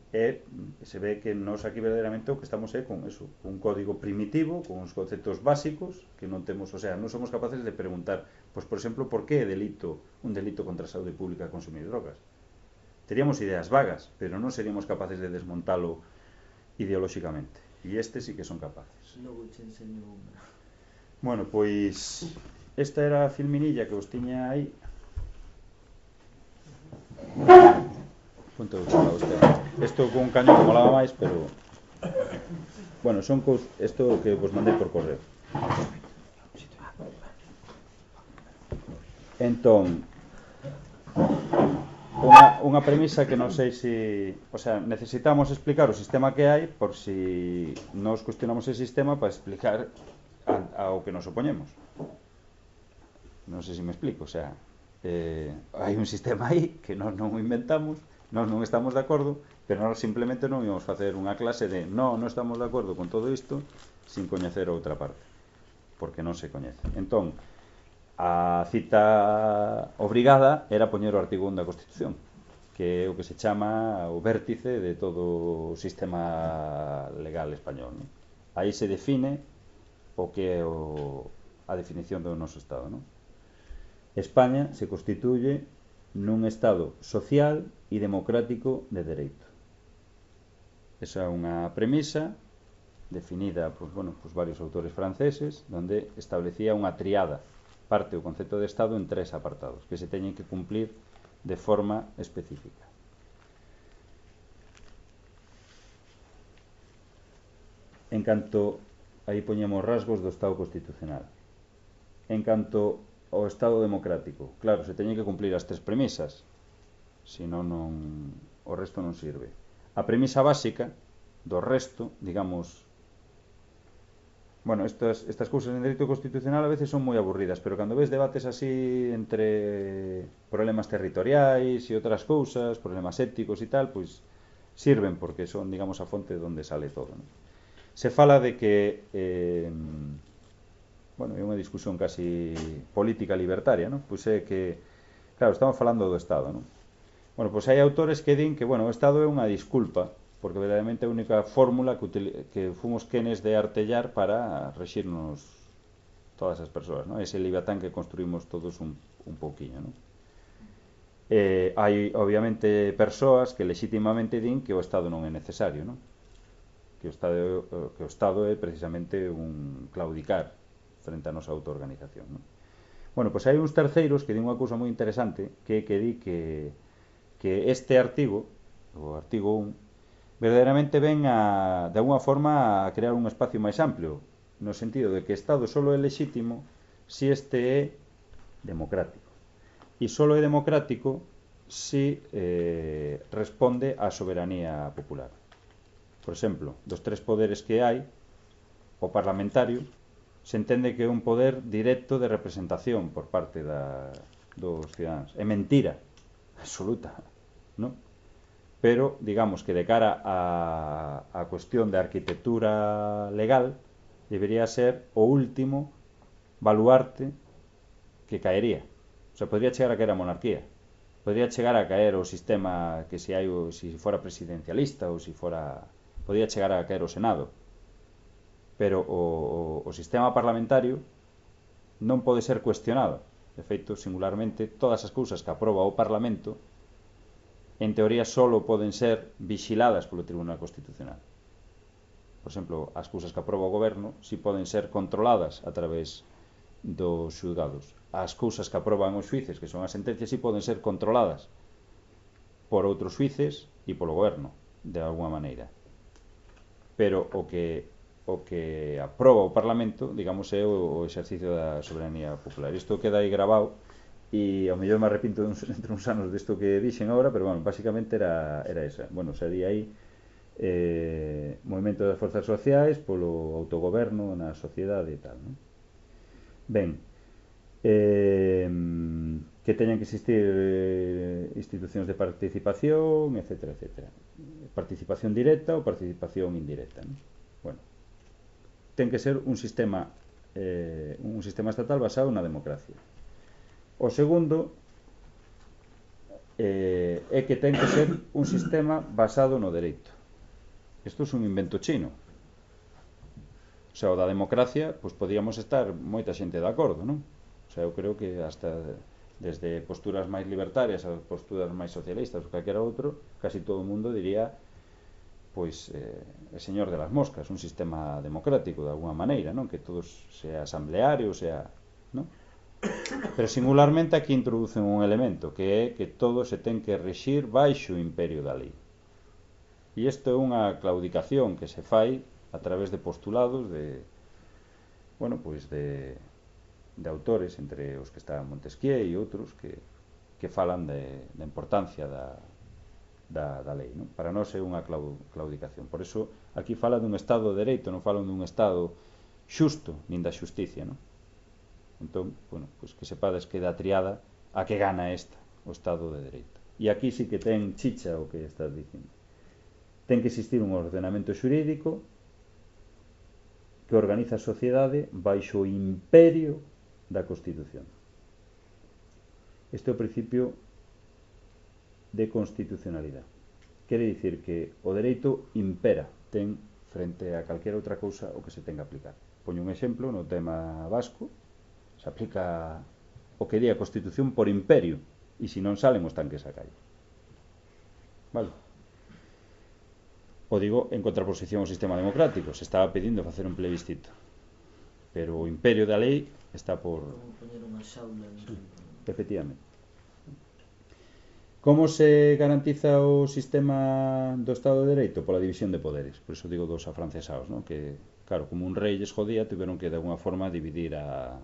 e se ve que nos aquí verdadeiramente o que estamos é con eso, un código primitivo, con uns conceptos básicos que non temos, o sea, non somos capaces de preguntar, pois por exemplo, por que é delito, un delito contra a saúde pública consumir drogas. Teríamos ideas vagas, pero non seríamos capaces de desmontalo ideolóxicamente. E este sí que son capaces. Logo te enseño unha. Bueno, pois esta era a filminilla que vos tiña aí. Ponte outro lado este. Isto con un cañón que molaba máis, pero bueno, son cos... isto que vos mandei por correo. Entón, unha, unha premisa que non sei se, o sea, necesitamos explicar o sistema que hai por si nos cuestionamos ese sistema para explicar a, ao que nos opoñemos. Non sei se me explico, o sea, eh, hai un sistema aí que nós non o inventamos, nós non estamos de acordo, pero nós simplemente non íamos facer unha clase de non, non estamos de acordo con todo isto sin coñecer outra parte, porque non se coñece. Entón, a cita obrigada era poñer o artigo un da Constitución, que é o que se chama o vértice de todo o sistema legal español, non? Aí se define o que é o, a definición do noso Estado, non? España se constituye nun Estado social e democrático de dereito. Esa é unha premisa definida por, bueno, por varios autores franceses, donde establecía unha triada, parte o concepto de Estado en tres apartados que se teñen que cumplir de forma específica. En canto, aí poñemos rasgos do Estado constitucional. En canto ao Estado democrático, claro, se teñen que cumplir as tres premisas, senón non, o resto non sirve. A premisa básica do resto, digamos, bueno, estas, estas cousas en dereito constitucional a veces son moi aburridas, pero cando ves debates así entre problemas territoriais e outras cousas, problemas éticos e tal, pois sirven porque son, digamos, a fonte onde sale todo, non? Se fala de que eh, bueno, é unha discusión casi política libertaria, non? Pois é que, claro, estamos falando do Estado, non? Bueno, pois hai autores que din que, bueno, o Estado é unha disculpa, porque verdadeiramente é a única fórmula que, util- que fomos quenes de artellar para rexirnos todas as persoas, ¿no? Ese Leviatán que construímos todos un, un pouquiño, ¿no? Eh, hai, obviamente, persoas que legitimamente din que o Estado non é necesario, ¿no? Que o Estado, que o Estado é precisamente un claudicar frente á nosa autoorganización, ¿no? Bueno, pois hai uns terceiros que din unha cousa moi interesante, que que di que, que este artigo, o artigo un, verdadeiramente ven a, de alguna forma a crear un espacio máis amplio, no sentido de que o Estado solo é lexítimo se este é democrático. E solo é democrático se eh, responde á soberanía popular. Por exemplo, dos tres poderes que hai, o parlamentario se entende que é un poder directo de representación por parte da, dos cidadáns. É mentira absoluta, ¿no? Pero, digamos que de cara a, a cuestión de arquitectura legal, debería ser o último baluarte que caería. O sea, podría chegar a caer a monarquía, podría chegar a caer o sistema que se hai, o, si fora presidencialista ou si fora, podría chegar a caer o Senado, pero o, o, o sistema parlamentario non pode ser cuestionado. De feito, singularmente, todas as cousas que aproba o Parlamento en teoría solo poden ser vixiladas polo Tribunal Constitucional. Por exemplo, as cousas que aproba o goberno si poden ser controladas a través dos xulgados. As cousas que aproban os xuíces, que son as sentencias, si poden ser controladas por outros xuíces e polo goberno, de alguma maneira. Pero o que o que aproba o Parlamento, digamos, é o, o exercicio da soberanía popular. Isto queda aí grabado e ao mellor me arrepinto uns, entre uns anos disto que dixen agora, pero bueno, basicamente era, era esa. Bueno, sería aí eh, movimento das forzas sociais polo autogoberno na sociedade e tal, non? Ben, eh, que teñan que existir eh, institucións de participación, etcétera, etcétera. Participación directa ou participación indirecta, non? Bueno, ten que ser un sistema eh, un sistema estatal basado na democracia. O segundo eh, é que ten que ser un sistema basado no dereito. Isto é un invento chino. O sea, o da democracia, pois podíamos estar moita xente de acordo, non? O sea, eu creo que hasta desde posturas máis libertarias a posturas máis socialistas ou calquera outro, casi todo o mundo diría pois eh, é señor de las moscas, un sistema democrático de alguna maneira, non? Que todos sea asambleario, sea, non? Pero singularmente aquí introducen un elemento que é que todo se ten que rexir baixo o imperio da lei. E isto é unha claudicación que se fai a través de postulados de, bueno, pois de, de autores, entre os que están Montesquieu e outros que, que falan de, da importancia da, da, da lei, non? Para nós é unha claudicación. Por eso aquí fala dun Estado de Dereito, non falan dun Estado xusto, nin da xusticia, non? Entón, bueno, pois que sepades que da triada a que gana esta, o Estado de Dereito. E aquí sí que ten chicha o que estás dicindo. Ten que existir un ordenamento xurídico que organiza a sociedade baixo o imperio da Constitución. Este é o principio de constitucionalidade. Quere dicir que o dereito impera, ten frente a calquera outra cousa o que se ten que aplicar. Poño un exemplo no tema vasco, se aplica o que di a Constitución por imperio, e se non salen os tanques a calle. Vale? O digo en contraposición ao sistema democrático, se estaba pedindo facer un plebiscito, pero o imperio da lei está por... Como poñer unha xaula en... Efectivamente. Como se garantiza o sistema do Estado de Dereito? Pola división de poderes. Por iso digo dos afrancesados, ¿no? Que, claro, como un rei lles jodía, tiveron que de alguna forma dividir a,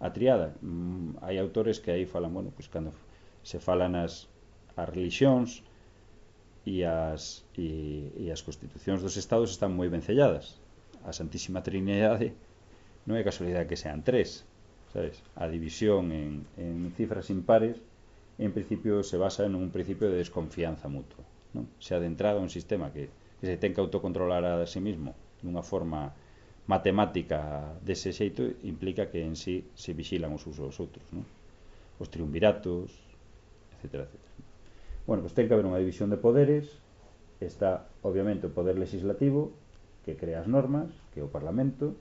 a triada. Mm, hai autores que aí falan, bueno, pois cando se falan as, as religións e as, e, e as constitucións dos estados están moi ben selladas. A Santísima Trinidade non é casualidade que sean tres, sabes? A división en, en cifras impares en principio se basa en un principio de desconfianza mutua, non? Se de entrada un sistema que, que se ten que autocontrolar a sí mismo dunha forma matemática dese xeito implica que en sí se vixilan os usos aos outros, non? Os triunviratos, etcétera, etcétera. Bueno, pois ten que haber unha división de poderes. Está, obviamente, o poder legislativo, que crea as normas, que é o Parlamento.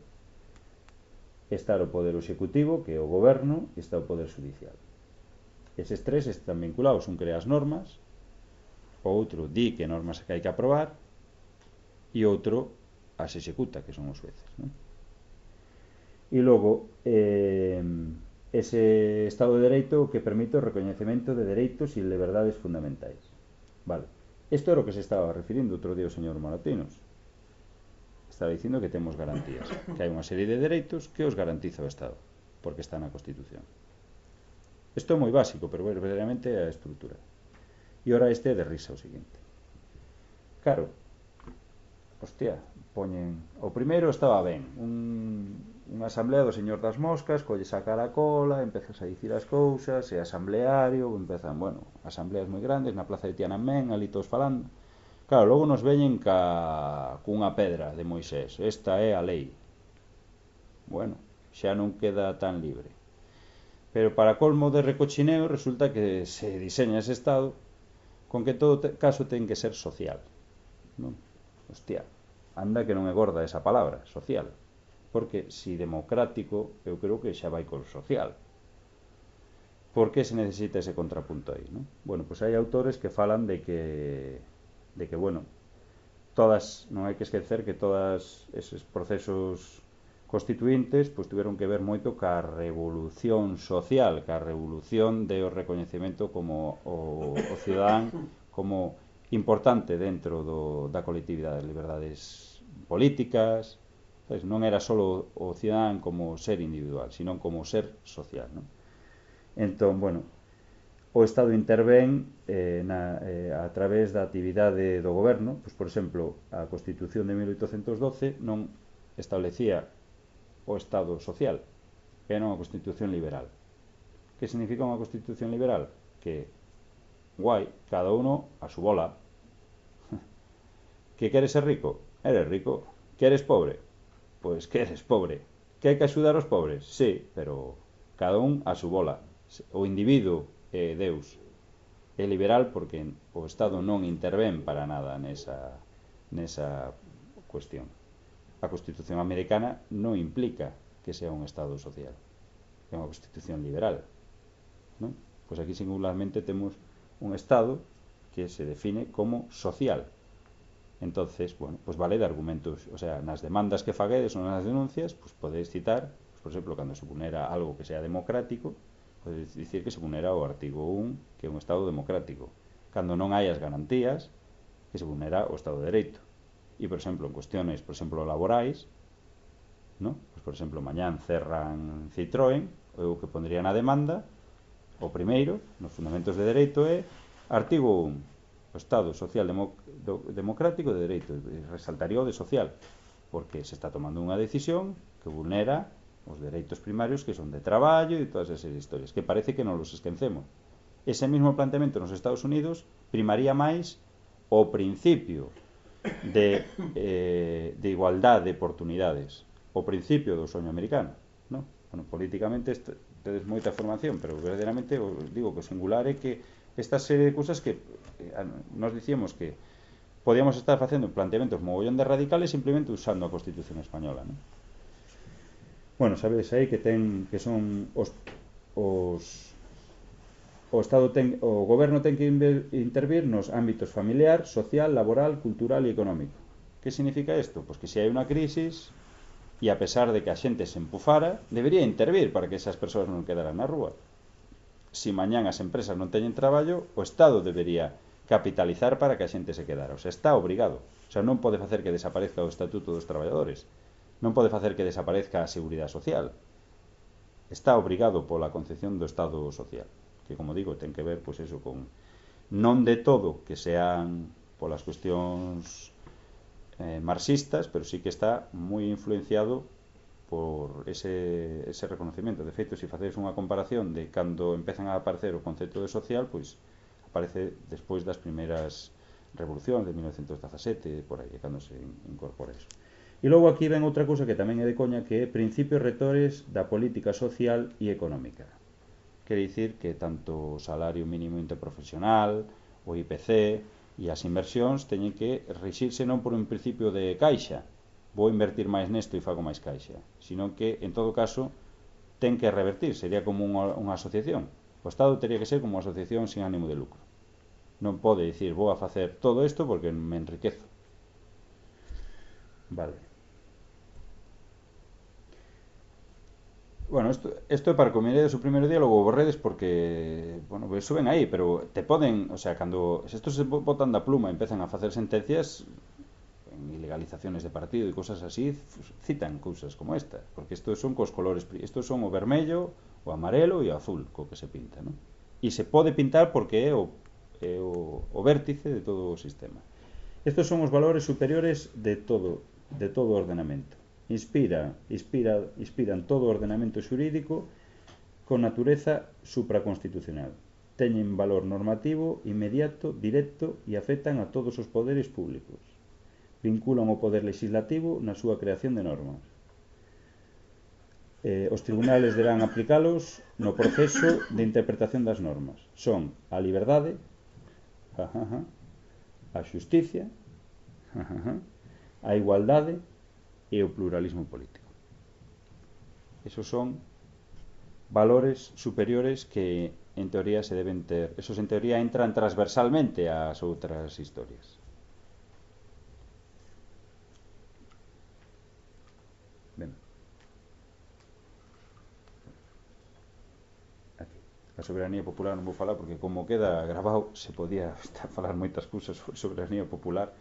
Está o poder executivo, que é o goberno, e está o poder judicial. Eses tres están vinculados, un crea as normas, o outro di que normas que hai que aprobar, e outro as executa, que son os xueces, non? E logo, eh, ese Estado de Dereito que permite o recoñecemento de dereitos e liberdades fundamentais. Vale. Isto era o que se estaba referindo outro día o señor Moratinos. Estaba dicindo que temos garantías, que hai unha serie de dereitos que os garantiza o Estado, porque está na Constitución. Isto é moi básico, pero verdadeiramente é a estrutura. E ora este é de risa o seguinte. Claro, hostia, poñen... O primeiro estaba ben, un, unha asamblea do señor das moscas, colle sacar a cola, empezas a dicir as cousas, e asambleario, empezan, bueno, asambleas moi grandes, na plaza de Tiananmen, ali todos falando. Claro, logo nos veñen ca... cunha pedra de Moisés, esta é a lei. Bueno, xa non queda tan libre. Pero para colmo de recochineo, resulta que se diseña ese Estado con que todo te, caso ten que ser social, non? Hostia, anda que non é gorda esa palabra, social, porque si democrático, eu creo que xa vai con social. Por que se necesita ese contrapunto aí, non? Bueno, pois hai autores que falan de que de que, bueno, todas, non hai que esquecer que todas eses procesos constituintes pois tiveron que ver moito ca revolución social, ca revolución de o recoñecemento como o, o cidadán como importante dentro do, da colectividade, liberdades políticas, sabes? Non era só o cidadán como ser individual, sino como ser social, non? Entón, bueno, o Estado intervén eh, na, eh, a través da actividade do goberno. Pois, por exemplo, a Constitución de mil oitocentos doce non establecía o Estado social, era unha Constitución liberal. Que significa unha Constitución liberal? Que, guai, cada uno a su bola. Que queres ser rico? Eres rico. Que eres pobre? Pois que eres pobre. Que hai que axudar aos pobres? Sí, pero cada un a su bola. O individuo é Deus. É liberal porque o Estado non intervén para nada nesa, nesa cuestión. A Constitución americana non implica que sea un Estado social, é unha Constitución liberal, non? Pois aquí singularmente temos un Estado que se define como social. Entonces, bueno, pois vale de argumentos, o sea, nas demandas que faguedes ou nas denuncias, pois podedes citar, pois, por exemplo, cando se vulnera algo que sea democrático, podedes dicir que se vulnera o artigo un, que é un Estado democrático. Cando non hai as garantías, que se vulnera o Estado de Dereito. E, por exemplo, en cuestiones, por exemplo, laborais, ¿no? Pues, por exemplo, mañán cerran Citroën, eu que pondría na demanda, o primeiro, nos fundamentos de dereito, é artigo un, o Estado social democ democrático de dereito, e resaltaría o de social, porque se está tomando unha decisión que vulnera os dereitos primarios que son de traballo e todas esas historias, que parece que non los esquecemos. Ese mismo planteamento nos Estados Unidos primaría máis o principio de, eh, de igualdad de oportunidades, o principio do soño americano, ¿no? Bueno, políticamente tedes moita formación, pero verdadeiramente os digo que o singular é que esta serie de cousas que eh, nos dicíamos que podíamos estar facendo planteamentos mogollón de radicales simplemente usando a Constitución española, ¿no? Bueno, sabedes aí que ten que son os, os o Estado ten, o goberno ten que intervir nos ámbitos familiar, social, laboral, cultural e económico. Que significa isto? Pois que se hai unha crisis e a pesar de que a xente se empufara, debería intervir para que esas persoas non quedaran na rúa. Si mañán as empresas non teñen traballo, o Estado debería capitalizar para que a xente se quedara. O sea, está obrigado. O sea, non pode facer que desaparezca o Estatuto dos Traballadores. Non pode facer que desaparezca a Seguridade Social. Está obrigado pola concepción do Estado social, que, como digo, ten que ver, pois, eso, con non de todo que sean polas cuestións eh, marxistas, pero sí que está moi influenciado por ese, ese reconocimiento. De feito, se facedes unha comparación de cando empezan a aparecer o concepto de social, pois aparece despois das primeiras revolucións de mil novecentos dezasete, por aí, cando se incorpora eso. E logo aquí ven outra cousa que tamén é de coña, que é principios rectores da política social e económica. Quere dicir que tanto o salario mínimo interprofesional, o I P C e as inversións teñen que rexirse non por un principio de caixa, vou invertir máis nesto e fago máis caixa, sino que, en todo caso, ten que revertir, sería como unha, unha asociación. O Estado teria que ser como unha asociación sin ánimo de lucro. Non pode dicir, vou a facer todo isto porque me enriquezo. Vale. Bueno, isto, isto é para que miredes o primeiro día, logo borredes porque, bueno, eso ven aí, pero te poden, o sea, cando se estos se botan da pluma e empezan a facer sentencias en ilegalizaciones de partido e cousas así, citan cousas como esta, porque estos son cos colores, estos son o vermello, o amarelo e o azul, co que se pinta, non? E se pode pintar porque é o, é o, o vértice de todo o sistema. Estos son os valores superiores de todo, de todo o ordenamento. Inspira, inspira, inspiran todo o ordenamento xurídico con natureza supraconstitucional. Teñen valor normativo, inmediato, directo e afectan a todos os poderes públicos. Vinculan o poder legislativo na súa creación de normas. Eh, os tribunales deberán aplicalos no proceso de interpretación das normas. Son a liberdade, a xusticia, a igualdade e o pluralismo político. Esos son valores superiores que en teoría se deben ter. Esos en teoría entran transversalmente ás outras historias. Ben. Aquí. A soberanía popular non vou falar porque como queda grabado se podía estar a falar moitas cousas sobre soberanía popular.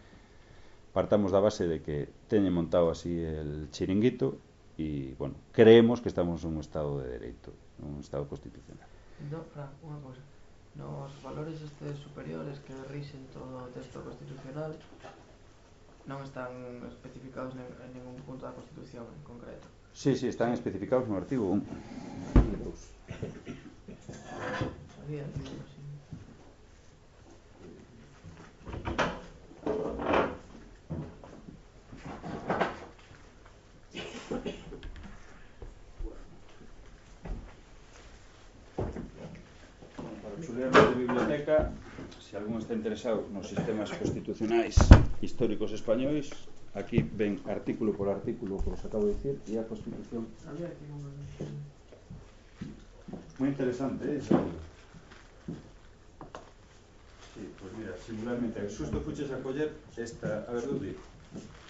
Partamos da base de que teñen montado así el chiringuito e, bueno, creemos que estamos en un estado de dereito, un estado constitucional. No, Fran, unha cosa. Nos valores estes superiores que rixen todo o texto constitucional non están especificados en ningún punto da Constitución en concreto. Sí, sí, están especificados no artigo un. Sabía, digo, así. Chulearnos de biblioteca, se algún está interesado nos sistemas constitucionais históricos españois, aquí ven artículo por artículo, como os acabo de dicir, e a Constitución. Había aquí unha... Moi interesante, eh, esa libro. Sí, pues mira, singularmente, xusto fuches a coller esta, a ver, Dudy,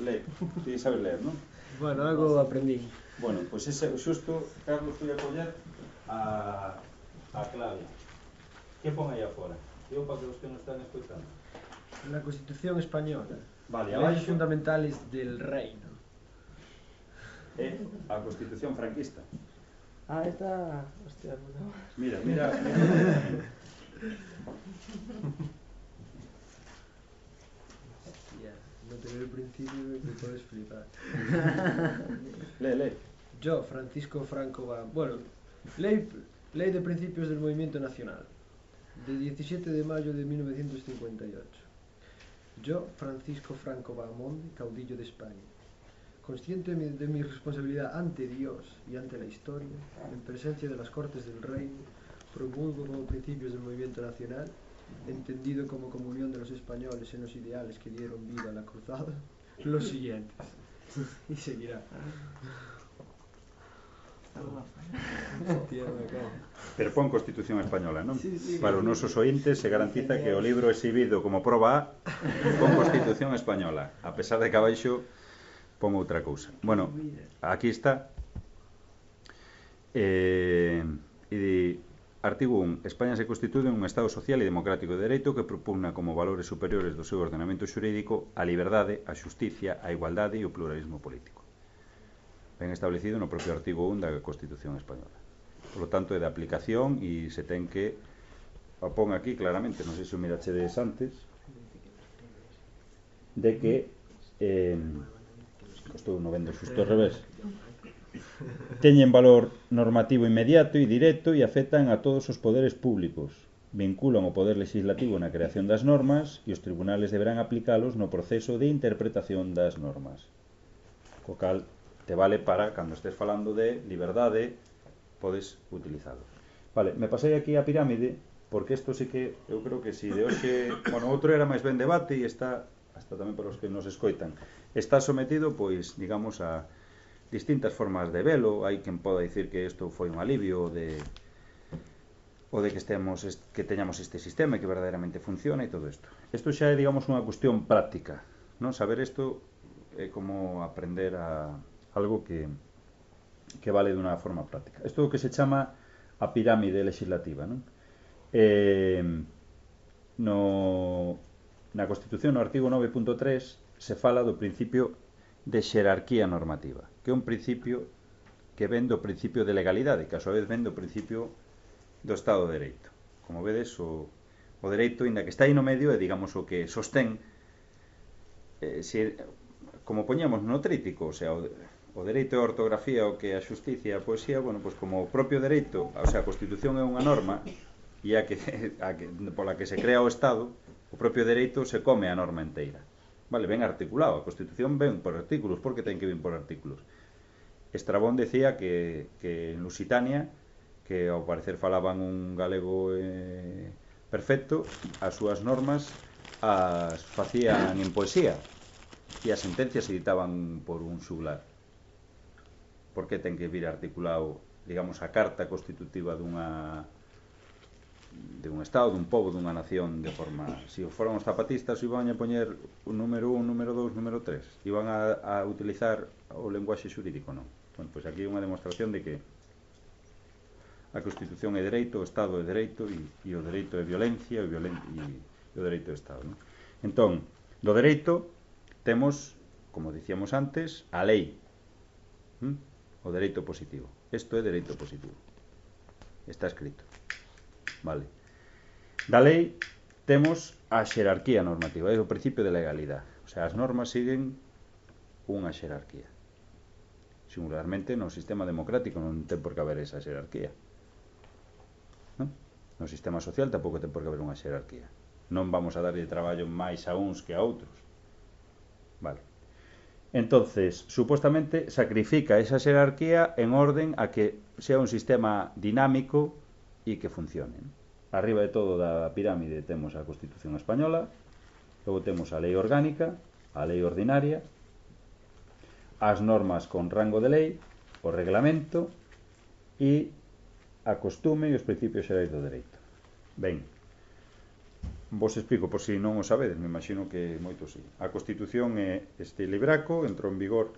lee, ti sabes leer, non? Bueno, algo aprendí. Bueno, pois pues ese, xusto, Carlos, fui a coller a, a clave. Que pon aí afora? Digo para que os que non están escoitando. La Constitución Española. Vale, Leyes abaixo fundamentales del reino. é a Constitución franquista. Ah, esta... Hostia, no. Mira, mira, mira. Hostia, no tener el principio te puedes flipar. Lee, lee. Yo, Francisco Franco Ba... Bueno, ley, ley de principios del movimiento nacional. De diecisiete de mayo de mil novecientos cincuenta y ocho. Yo, Francisco Franco Bahamonde, caudillo de España, consciente de mi responsabilidad ante Dios y ante la historia, en presencia de las Cortes del Reino, promulgo como principios del movimiento nacional, entendido como comunión de los españoles en los ideales que dieron vida a la cruzada, los siguientes. Y seguirá. Hostia, me cago. Pero pon Constitución Española, non? Sí, sí, Para os nosos ointes se garantiza que o libro exhibido como proba A pon Constitución Española, a pesar de que abaixo pon outra cousa. Bueno, aquí está. Eh, e artigo un. España se constitúe un Estado social e democrático de dereito que propugna como valores superiores do seu ordenamento xurídico a liberdade, a xusticia, a igualdade e o pluralismo político. Ben establecido no propio artigo un da Constitución Española. Por lo tanto, é de aplicación e se ten que o pon aquí claramente, non sei se o mirachedes antes, de que eh, estou no vendo xusto ao revés, teñen valor normativo inmediato e directo e afectan a todos os poderes públicos, vinculan o poder legislativo na creación das normas e os tribunales deberán aplicalos no proceso de interpretación das normas. Co cal te vale para, cando estés falando de liberdade, podes utilizalo. Vale, me pasei aquí a pirámide porque isto sí que eu creo que si de hoxe, bueno, outro era máis ben debate e está, hasta tamén para os que nos escoitan, está sometido, pois, digamos, a distintas formas de velo. Hai quen poda dicir que isto foi un alivio de o de que estemos que teñamos este sistema e que verdadeiramente funciona e todo isto. Isto xa é, digamos, unha cuestión práctica, non? Saber isto é como aprender a algo que que vale dunha forma práctica. Isto é o que se chama a pirámide legislativa, non? Eh, no, na Constitución, no artigo nove punto tres, se fala do principio de xerarquía normativa, que é un principio que ven do principio de legalidade, que a súa vez ven do principio do Estado de Dereito. Como vedes, o, o dereito, inda que está aí no medio, é, digamos, o que sostén, eh, se, como poñamos no trítico, o sea, o, o dereito e a ortografía, o que a xusticia e a poesía, bueno, pois como o propio dereito, o sea, a Constitución é unha norma, e a que, a que, pola que se crea o Estado, o propio dereito se come a norma inteira. Vale, ben articulado, a Constitución ven por artículos, porque ten que vir por artículos. Estrabón decía que, que en Lusitania, que ao parecer falaban un galego eh, perfecto, as súas normas as facían en poesía e as sentencias se editaban por un xuglar. Por que ten que vir articulado, digamos, a carta constitutiva dunha de un estado, dun pobo, dunha nación de forma... Se si foran os zapatistas iban a poñer un número un, número dous, número tres, iban a, a utilizar o lenguaxe xurídico, non? Bueno, pois aquí é unha demostración de que a Constitución é dereito, o Estado é dereito e, e o dereito é violencia e, violen e, e o dereito é Estado, non? Entón, do dereito temos, como dicíamos antes, a lei, ¿Mm? O dereito positivo. Isto é dereito positivo, está escrito. Vale. Da lei temos a xerarquía normativa, é o principio de legalidade. O sea, as normas siguen unha xerarquía. Singularmente no sistema democrático non ten por que haber esa xerarquía. Non? No sistema social tampouco ten por que haber unha xerarquía. Non vamos a darlle traballo máis a uns que a outros. Vale. Entonces, supuestamente sacrifica esa xerarquía en orden a que sea un sistema dinámico e que funcione. Arriba de todo da pirámide temos a Constitución española, logo temos a lei orgánica, a lei ordinaria, as normas con rango de lei, o reglamento e a costume e os principios xerais do dereito. Ben, vos explico por si non o sabedes, me imagino que moito sí. A Constitución é este libraco, entrou en vigor,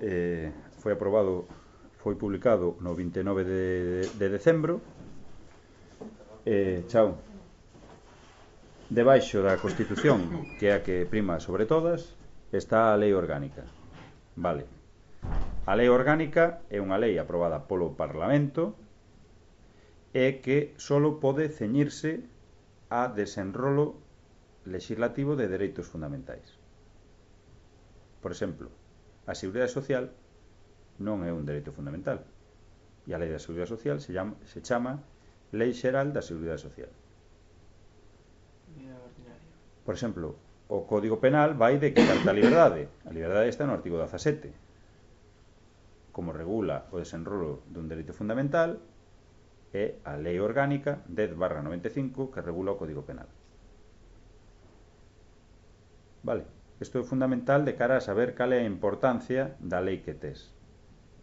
eh, foi aprobado, foi publicado no vinte e nove de, de decembro. Eh, chao. Debaixo da Constitución, que é a que prima sobre todas, está a lei orgánica. Vale. A lei orgánica é unha lei aprobada polo Parlamento e que solo pode ceñirse a desenrolo legislativo de dereitos fundamentais. Por exemplo, a Seguridade Social non é un dereito fundamental e a Lei da Seguridade Social se chama, se chama Lei Xeral da Seguridade Social. Por exemplo, o Código Penal vai de que carta a liberdade. A liberdade está no artigo dezasete, como regula o desenrolo dun dereito fundamental, é a Lei Orgánica dez barra noventa e cinco que regula o Código Penal. Vale, isto é fundamental de cara a saber cal é a importancia da lei que tes.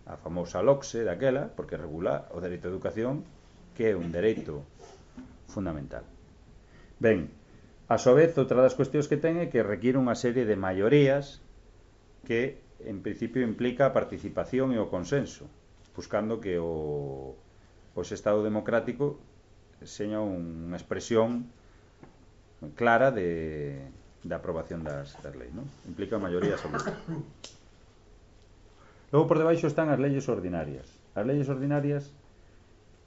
A famosa LOCSE daquela, porque regula o dereito á educación, que é un dereito fundamental. Ben, a súa vez, outra das cuestións que ten é que requiere unha serie de maiorías que, en principio, implica a participación e o consenso, buscando que o, o Estado democrático seña unha expresión clara de, de aprobación das, das leis, non? Implica maiorías absolutas. Logo, por debaixo están as leyes ordinarias. As leyes ordinarias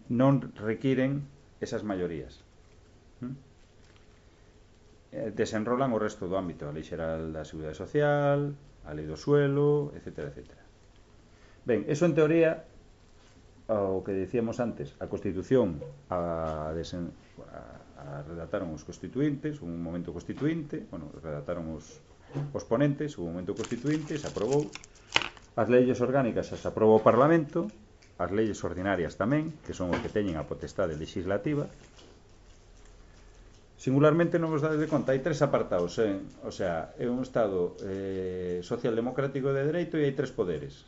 non requiren esas maiorías. ¿Mm? Desenrolan o resto do ámbito, a Lei Xeral da Seguridade Social, a Lei do Suelo, etcétera, etcétera. Ben, eso en teoría, o que decíamos antes, a Constitución a, desen, a, a redactaron os constituintes, un momento constituinte, bueno, redactaron os, os ponentes, un momento constituinte, se aprobou. As leyes orgánicas as aprobou o Parlamento as leyes ordinarias tamén, que son os que teñen a potestade legislativa. Singularmente non vos dades de conta, hai tres apartados, eh? O sea, é un Estado eh, socialdemocrático de dereito e hai tres poderes.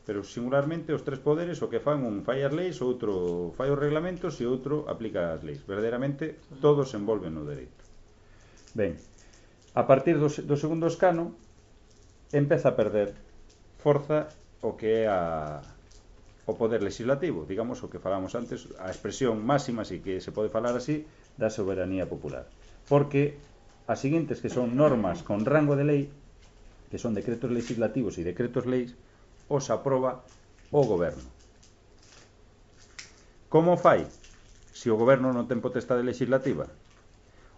Pero singularmente os tres poderes o que fan un fai as leis, outro fai os reglamentos e outro aplica as leis. Verdadeiramente todos se envolven no dereito. Ben, a partir do, do segundo escano empeza a perder forza o que é a, o poder legislativo, digamos o que falamos antes, a expresión máxima, si que se pode falar así, da soberanía popular. Porque as seguintes, que son normas con rango de lei, que son decretos legislativos e decretos leis, os aproba o goberno. Como fai? Se o goberno non ten potestade legislativa,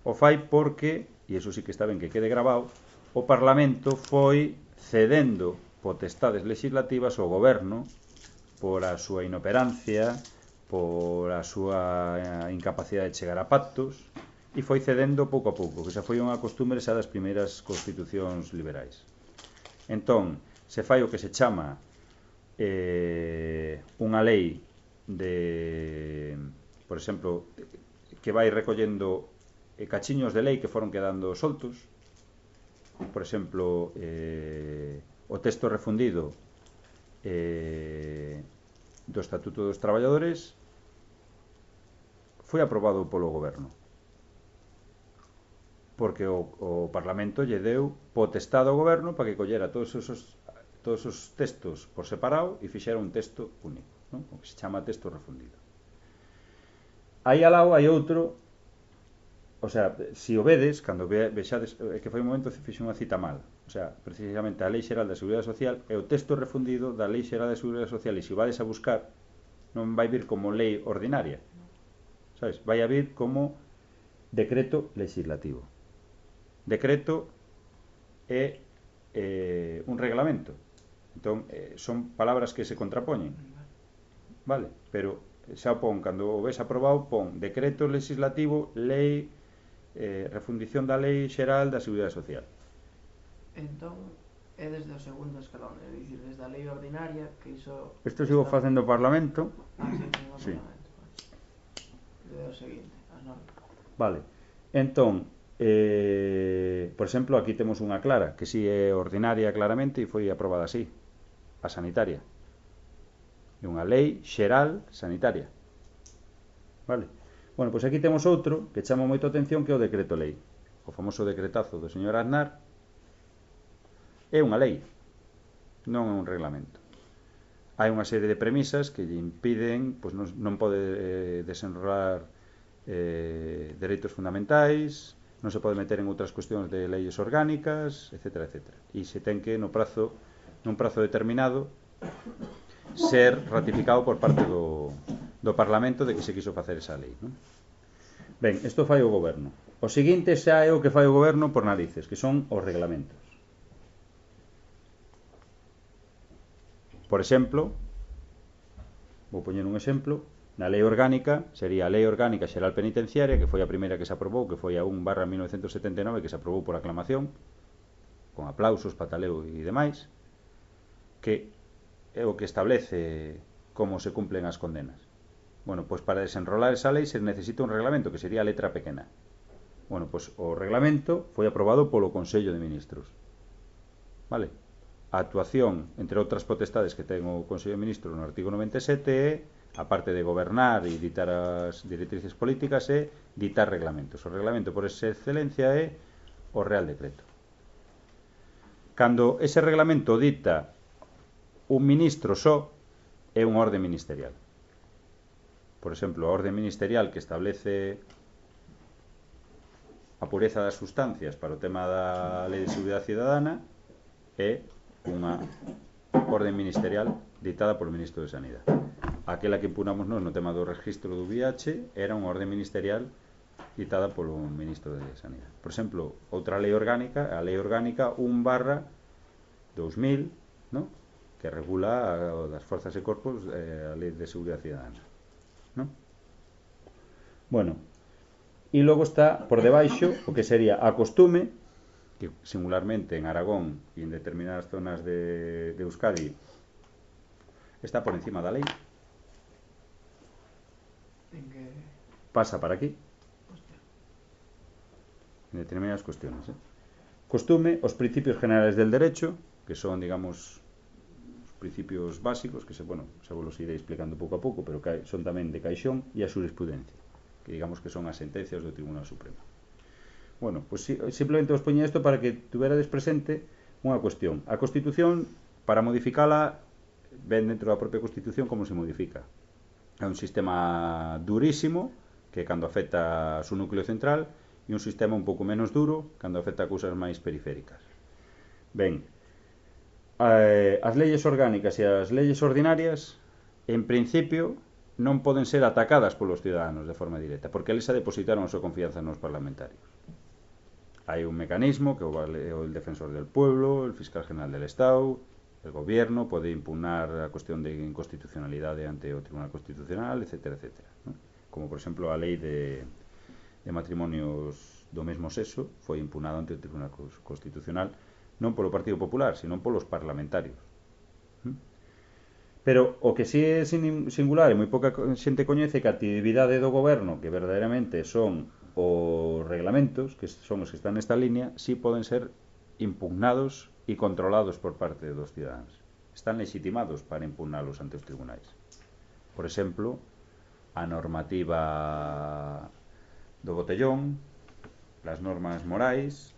o fai porque, e iso sí que está ben que quede grabado, o Parlamento foi cedendo potestades legislativas ao goberno por a súa inoperancia, por a súa incapacidade de chegar a pactos, e foi cedendo pouco a pouco, que xa foi unha costumbre xa das primeiras constitucións liberais. Entón, se fai o que se chama eh, unha lei de, por exemplo, que vai recollendo eh, cachiños de lei que foron quedando soltos. Por exemplo, eh, o texto refundido eh, do Estatuto dos Traballadores foi aprobado polo goberno, porque o, o Parlamento lle deu potestade ao goberno para que collera todos esos, todos os textos por separado e fixera un texto único, non? O que se chama texto refundido. Aí ao lado hai outro, o sea, se o vedes, cando ve, vexades, é que foi un momento fixe unha cita mal, o sea, precisamente a Lei Xeral da Seguridade Social é o texto refundido da Lei Xeral da Seguridade Social, e se o vades a buscar non vai vir como lei ordinaria, sabes? Vai a vir como decreto legislativo. Decreto é eh, un reglamento, entón eh, son palabras que se contrapoñen, vale? Pero xa o pon, cando o ves aprobado, pon decreto legislativo, lei, eh, refundición da Lei Xeral da Seguridade Social. Entón, é desde o segundo escalón, é dicir, desde a lei ordinaria, que iso... Isto sigo facendo o Parlamento. Ah, sí, no Sí. Parlamento. Desde o seguinte, as normas. Vale, entón, eh, por exemplo, aquí temos unha clara, que si é ordinaria claramente e foi aprobada así, a sanitaria. É unha lei xeral sanitaria. Vale? Bueno, pois aquí temos outro que chama moito a atención, que é o decreto lei. O famoso decretazo do señor Aznar é unha lei, non é un reglamento. Hai unha serie de premisas que lle impiden, pois non, non pode eh, desenrolar eh, dereitos fundamentais, non se pode meter en outras cuestións de leyes orgánicas, etcétera, etcétera. E se ten que, no prazo, nun prazo determinado, ser ratificado por parte do, do Parlamento de que se quiso facer esa lei, non? Ben, isto fai o goberno. O seguinte xa é o que fai o goberno por narices, que son os reglamentos. Por exemplo, vou poñer un exemplo, na lei orgánica sería a Lei Orgánica Xeral Penitenciaria, que foi a primeira que se aprobou, que foi a un barra mil novecentos setenta e nove, que se aprobou por aclamación, con aplausos, pataleo e demais, que é o que establece como se cumplen as condenas. Bueno, pois para desenrolar esa lei se necesita un reglamento, que sería a letra pequena. Bueno, pois o reglamento foi aprobado polo Consello de Ministros. Vale? A actuación, entre outras potestades que ten o Consello de Ministros no artigo noventa e sete, é, aparte de gobernar e ditar as directrices políticas, é ditar reglamentos. O reglamento, por esa excelencia, é o Real Decreto. Cando ese reglamento dita un ministro só, é unha orde ministerial. Por exemplo, a orde ministerial que establece a pureza das sustancias para o tema da Lei de Seguridade Cidadana é unha orden ministerial ditada polo Ministro de Sanidade. Aquela que impunamos nós no tema do registro do V I H era unha orde ministerial ditada polo Ministro de Sanidade. Por exemplo, outra lei orgánica, a Lei Orgánica un barra dos mil, ¿no?, que regula a, das forzas e corpos eh, a Lei de Seguridade Cidadana, ¿no? Bueno, e logo está por debaixo o que sería a costume, que singularmente en Aragón e en determinadas zonas de, de Euskadi está por encima da lei, pasa para aquí en determinadas cuestiones, ¿eh? Costume, os principios generales del derecho, que son, digamos, os principios básicos, que se, bueno, se vos los iré explicando pouco a pouco, pero que son tamén de caixón, e a xurisprudencia, que digamos que son as sentencias do Tribunal Supremo. Bueno, pues simplemente os poñía isto para que tuverades presente unha cuestión. A Constitución, para modificala, ven dentro da propia Constitución como se modifica. É un sistema durísimo, que cando afecta a su núcleo central, e un sistema un pouco menos duro cando afecta a cousas máis periféricas. Ben, eh, as leyes orgánicas e as leyes ordinarias, en principio, non poden ser atacadas polos ciudadanos de forma directa, porque eles a depositaron a súa confianza nos parlamentarios. Hai un mecanismo que o el defensor del pueblo, el fiscal general del Estado, el gobierno pode impugnar a cuestión de inconstitucionalidade ante o Tribunal Constitucional, etcétera, etcétera, ¿no? Como, por exemplo, a lei de de matrimonios do mesmo sexo foi impugnado ante o Tribunal Constitucional non polo Partido Popular, sino polos parlamentarios. Pero o que si é singular e moi pouca xente coñece que a actividade do goberno, que verdadeiramente son os reglamentos, que son os que están nesta línea, si poden ser impugnados e controlados por parte dos ciudadanos. Están legitimados para impugnalos ante os tribunais. Por exemplo, a normativa do botellón, as normas morais,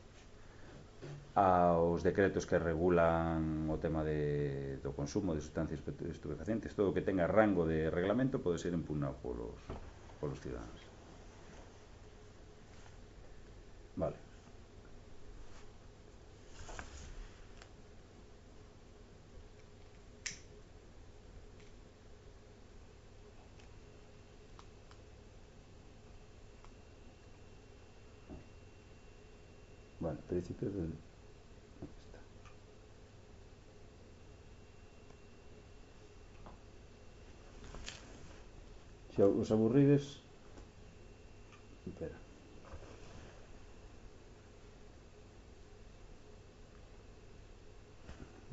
aos decretos que regulan o tema de, do consumo de sustancias estupefacientes, todo o que tenga rango de reglamento pode ser impugnado polos, polos ciudadanos. Vale. Bueno, principios del... Aquí está. Se os aburrides... Espera.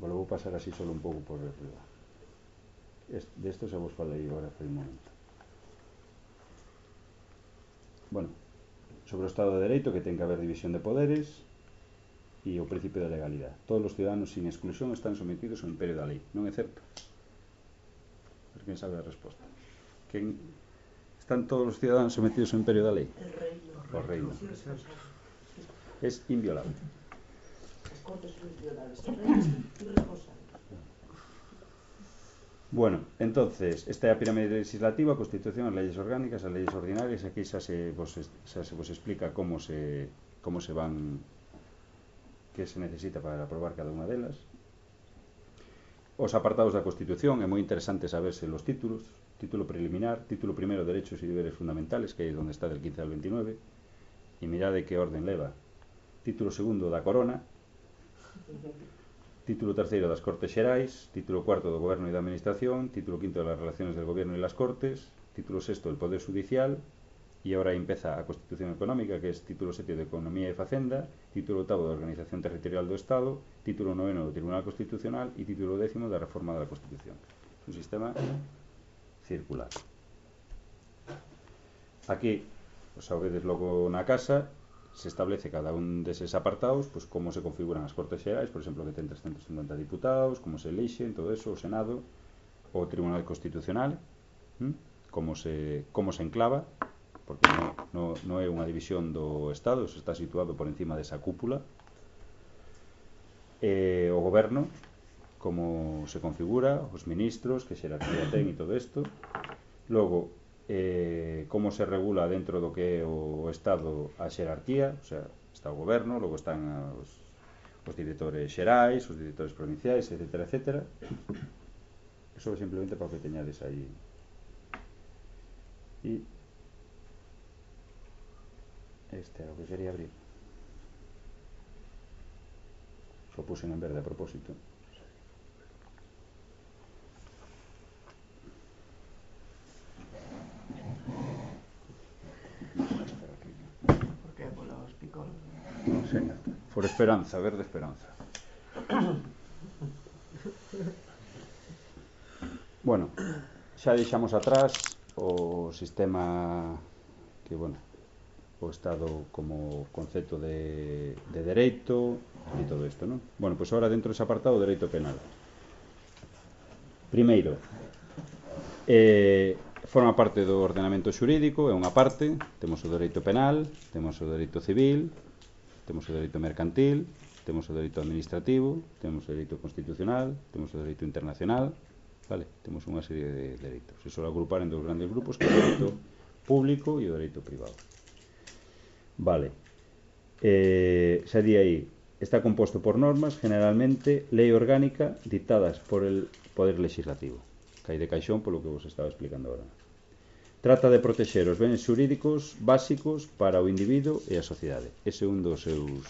Bueno, vou pasar así solo un pouco por arriba. De esto se vos falei agora por un momento. Bueno, sobre o Estado de Dereito, que ten que haber división de poderes e o principio de legalidade. Todos os ciudadanos sin exclusión están sometidos ao imperio da lei. Non é certo? Pero quen sabe a resposta? Quen están todos os ciudadanos sometidos ao imperio da lei? O reino. É inviolable. Bueno, entonces, esta é a pirámide legislativa, a Constitución, as leyes orgánicas, as leyes ordinarias. Aquí xa se vos, xa se vos explica como se, como se van, que se necesita para aprobar cada unha delas. Os apartados da Constitución, é moi interesante saberse los títulos. Título preliminar, título primero, derechos e deberes fundamentales, que é onde está del quince al veintinueve, e mirade que orden leva. Título segundo da Corona, título terceiro das Cortes Xerais, título cuarto do Goberno e da Administración, título quinto de las relaciones del Gobierno y las Cortes, título sexto del Poder Judicial, y ahora empeza a Constitución Económica, que es título séptimo de Economía e Facenda, título octavo de Organización Territorial do Estado, título noveno do Tribunal Constitucional e título décimo da Reforma da Constitución. Es un sistema circular. Aquí, os sabedes logo na casa, se establece cada un deses apartados, pues como se configuran as Cortes Xerais, por exemplo, que ten trescentos cincuenta diputados, como se elixen, todo eso, o Senado, o Tribunal Constitucional, ¿m? como se como se enclava, porque no, no, no é unha división do Estado, se está situado por encima desa cúpula. E o Goberno, como se configura, os ministros, que xerarquía ten e todo isto. Logo, Eh, como se regula dentro do que é o Estado a xerarquía, o sea, está o goberno, logo están os, os directores xerais, os directores provinciais, etcétera, etcétera. Eso é simplemente para que teñades aí. E este é o que quería abrir. Lo puse en verde a propósito. No sé, por esperanza, verde esperanza. Bueno, xa deixamos atrás o sistema que, bueno, o Estado como concepto de, de dereito e todo isto, non? Bueno, pois agora dentro dese apartado, o dereito penal. Primeiro, eh, forma parte do ordenamento xurídico, é unha parte. Temos o dereito penal, temos o dereito civil, temos o dereito mercantil, temos o dereito administrativo, temos o dereito constitucional, temos o dereito internacional, vale? Temos unha serie de dereitos. Se suele agrupar en dos grandes grupos, que é o dereito público e o dereito privado. Vale. Eh, xa di aí, está composto por normas, generalmente lei orgánica, dictadas por el Poder Legislativo, que hai de caixón polo que vos estaba explicando agora. Trata de protexer os bens xurídicos básicos para o individuo e a sociedade. Ese é un dos seus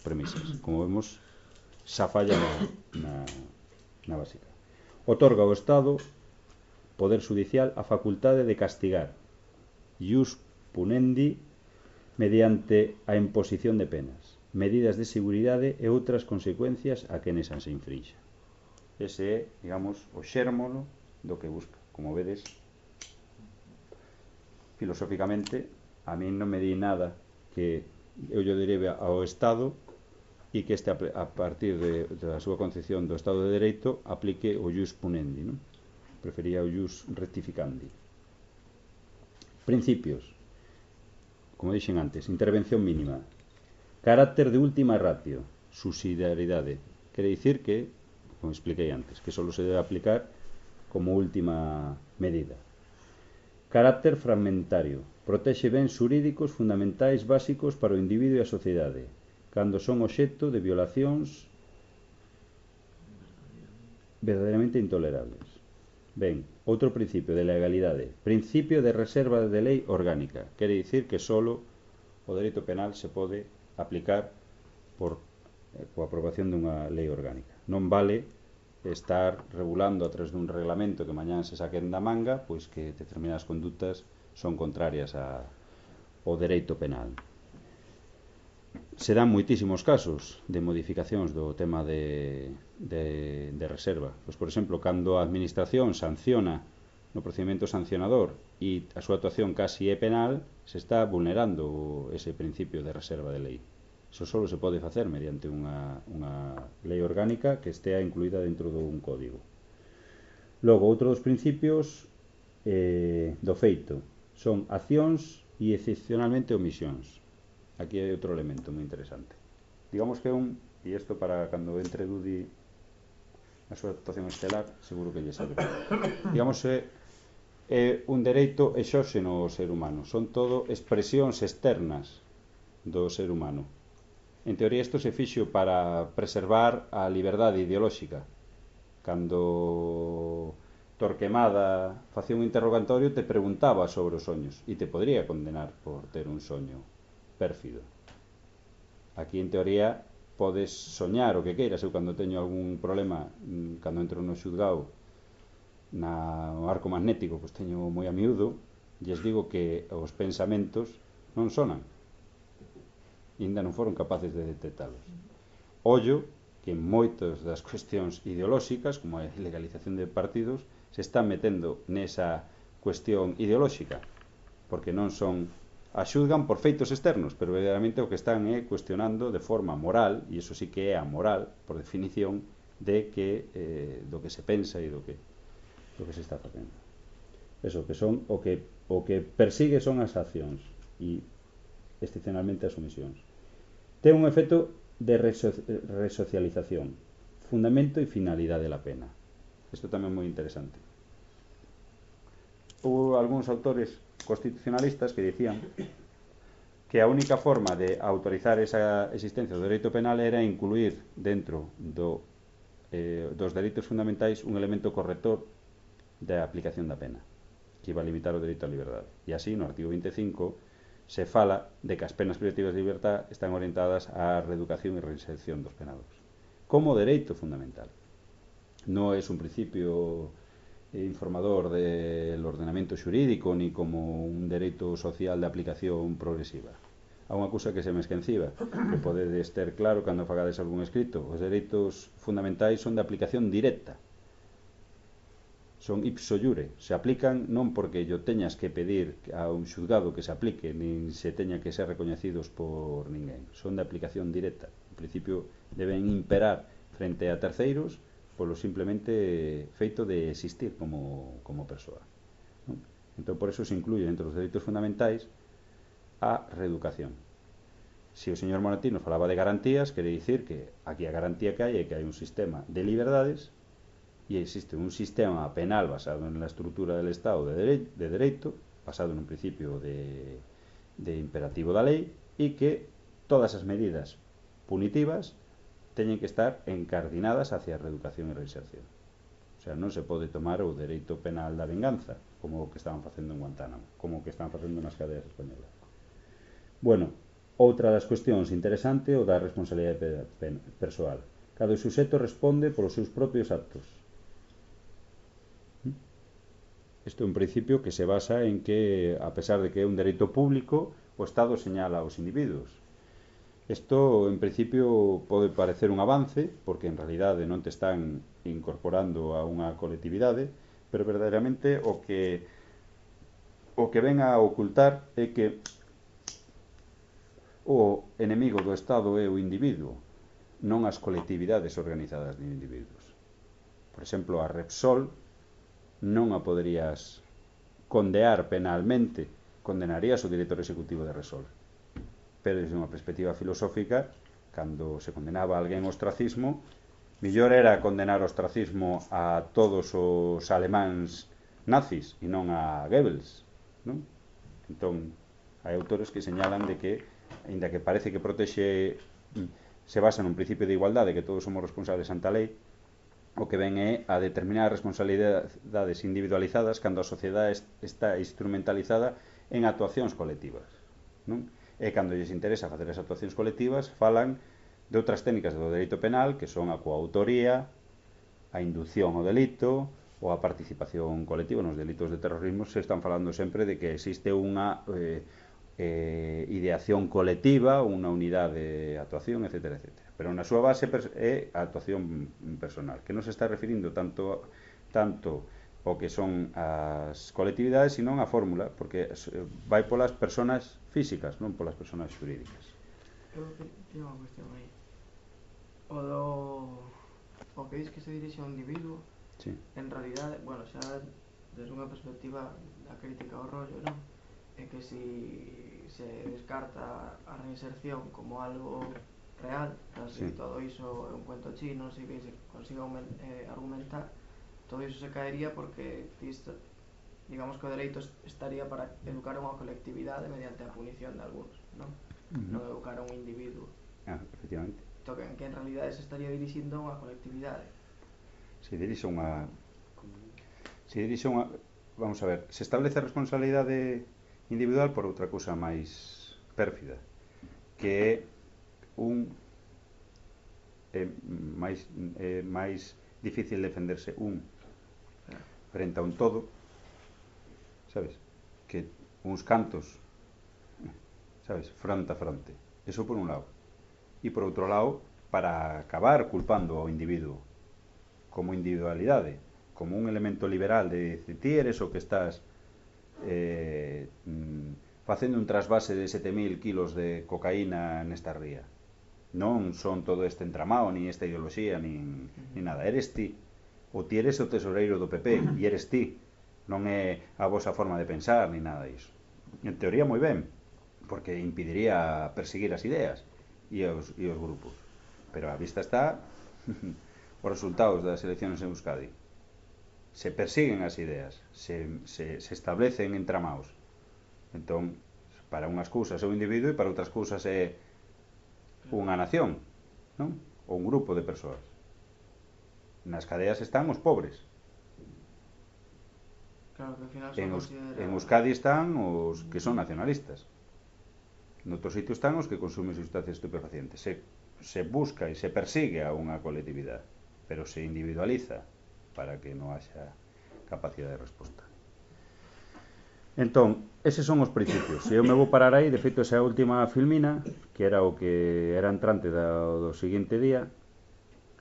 premisas. Como vemos, xa falla na, na, na básica. Otorga ao Estado, Poder Judicial, a facultade de castigar ius punendi mediante a imposición de penas, medidas de seguridade e outras consecuencias a quenes as se infrinxa. Ese é, digamos, o xérmolo do que busca. Como vedes, filosóficamente, a mí non me di nada que eu lle derive ao Estado e que este, a partir de, da súa concepción do Estado de Dereito, aplique o ius punendi, non? Prefería o ius rectificandi. Principios. Como dixen antes, intervención mínima, carácter de última ratio, subsidiariedade, quere dicir que, como expliquei antes, que só se debe aplicar como última medida. Carácter fragmentario, protexe bens xurídicos fundamentais básicos para o individuo e a sociedade, cando son obxecto de violacións verdadeiramente intolerables. Ben, outro principio de legalidade, principio de reserva de lei orgánica, quere dicir que solo o dereito penal se pode aplicar por eh, coa aprobación dunha lei orgánica. Non vale estar regulando a través dun reglamento que mañán se saquen da manga, pois que determinadas condutas son contrarias a, ao dereito penal. Se dan moitísimos casos de modificacións do tema de, de, de reserva. Pois, por exemplo, cando a administración sanciona no procedimento sancionador e a súa actuación casi é penal, se está vulnerando ese principio de reserva de lei. Iso só se pode facer mediante unha, unha lei orgánica que estea incluída dentro dun código. Logo, outro dos principios eh, do feito son accións e excepcionalmente omisións. Aquí hai outro elemento moi interesante. Digamos que un, e isto para cando entre Dudi na súa actuación estelar, seguro que lle sabe. Digamos que é un dereito exóxeno ao ser humano. Son todo expresións externas do ser humano. En teoría isto se fixo para preservar a liberdade ideolóxica. Cando Torquemada facía un interrogatorio te preguntaba sobre os soños e te podría condenar por ter un soño pérfido. Aquí en teoría podes soñar o que queiras. Eu cando teño algún problema, cando entro no xuzgado na, no arco magnético, pois teño moi a miúdo, lles digo que os pensamentos non sonan, ainda non foron capaces de detectalos. Ollo que en moitas das cuestións ideolóxicas, como a legalización de partidos, se están metendo nesa cuestión ideolóxica, porque non son, a xuzgan por feitos externos, pero verdadeiramente o que están é cuestionando de forma moral, e iso sí que é amoral, por definición, de que eh, do que se pensa e do que do que se está facendo. Eso, que son o que o que persigue son as accións e excepcionalmente as omisións. Ten un efecto de reso resocialización, fundamento e finalidade da pena. Isto tamén é moi interesante. Houve algúns autores constitucionalistas que dicían que a única forma de autorizar esa existencia do dereito penal era incluir dentro do, eh, dos dereitos fundamentais un elemento corrector da aplicación da pena, que iba a limitar o dereito á liberdade. E así, no artigo vinte e cinco, se fala de que as penas privativas de libertad están orientadas á reeducación e reinserción dos penados como dereito fundamental. Non é un principio informador del ordenamento xurídico ni como un dereito social de aplicación progresiva. Há unha cousa que se me esqueciba, que podedes ter claro cando fagades algún escrito: os dereitos fundamentais son de aplicación directa. son ipso iure, se aplican non porque yo teñas que pedir a un xulgado que se aplique, nin se teña que ser recoñecidos por ninguén, son de aplicación directa. En principio deben imperar frente a terceiros polo simplemente feito de existir como, como persoa, non? Entón por eso se incluye entre os dereitos fundamentais a reeducación. Se o señor Moratino falaba de garantías, quere dicir que aquí a garantía que hai é que hai un sistema de liberdades e existe un sistema penal basado en la estructura del Estado de, dere de dereito, basado nun principio de, de imperativo da lei, e que todas as medidas punitivas teñen que estar encardinadas hacia a reeducación e reinserción. O sea, non se pode tomar o dereito penal da venganza, como o que estaban facendo en Guantánamo, como o que estaban facendo nas cadeas españolas. Bueno, outra das cuestións interesante o da responsabilidade persoal. Cada suxeto responde polos seus propios actos. Isto é un principio que se basa en que, a pesar de que é un dereito público, o Estado señala aos individuos. Isto, en principio, pode parecer un avance, porque en realidade non te están incorporando a unha colectividade, pero verdadeiramente o que o que ven a ocultar é que o enemigo do Estado é o individuo, non as colectividades organizadas de individuos. Por exemplo, a Repsol non a poderías condear penalmente, condenarías o director executivo de Repsol. Pero desde unha perspectiva filosófica, cando se condenaba a alguén ao ostracismo, mellor era condenar o ostracismo a todos os alemáns nazis e non a Goebbels, non? Entón, hai autores que señalan de que, aínda que parece que protexe, se basa nun principio de igualdade, que todos somos responsables ante a lei, o que ven é a determinar responsabilidades individualizadas cando a sociedade está instrumentalizada en actuacións colectivas, non? E cando lles interesa facer as actuacións colectivas, falan de outras técnicas do dereito penal, que son a coautoría, a inducción ao delito ou a participación colectiva. Nos delitos de terrorismo se están falando sempre de que existe unha eh, eh, ideación colectiva, unha unidade de actuación, etcétera, etcétera. Pero na súa base é a actuación personal, que non se está referindo tanto tanto o que son as colectividades, sino a fórmula, porque vai polas persoas físicas, non polas persoas xurídicas. Eu teño unha cuestión aí. O do... o que dis que se dirixe ao individuo, sí. En realidade, bueno, xa desde unha perspectiva da crítica ao rollo, non? É que si se descarta a reinserción como algo real, así sí. Todo iso é un cuento chino, si que se consiga eh, argumentar, todo iso se caería porque isto, digamos que o dereito estaría para educar a unha colectividade mediante a punición de algunos, non? Uh-huh. Non educar a un individuo. Ah, efectivamente. Entón, que en realidade se estaría dirixindo a unha colectividade. Se dirixe unha... Se dirixe unha... Vamos a ver, se establece a responsabilidade individual por outra cousa máis pérfida, que é un... é máis, é máis difícil defenderse un frente a un todo, sabes? Que uns cantos, sabes? Fronte a fronte. Eso por un lado. E por outro lado, para acabar culpando ao individuo como individualidade, como un elemento liberal de decir, ti eres o que estás eh, facendo un trasvase de sete mil kilos de cocaína nesta ría. Non son todo este entramado, ni esta ideoloxía, ni, ni nada. Eres ti. O ti eres o tesoureiro do P P, e eres ti. Non é a vosa forma de pensar, ni nada disso. En teoría, moi ben, porque impediría perseguir as ideas e os, e os grupos. Pero a vista está os resultados das eleccións en Euskadi. Se persiguen as ideas, se, se, se establecen entramados. Entón, para unhas cousas é un individuo e para outras cousas é unha nación, non? Ou un grupo de persoas. Nas cadeas están os pobres. Claro, que ao final en, considera... en Euskadi están os que son nacionalistas. Noutro sitio están os que consumen sustancias estupefacientes. Se, se busca e se persigue a unha colectividade, pero se individualiza para que non haxa capacidade de resposta. Entón, eses son os principios. Se eu me vou parar aí, de feito, esa última filmina, que era o que era entrante do, do seguinte día,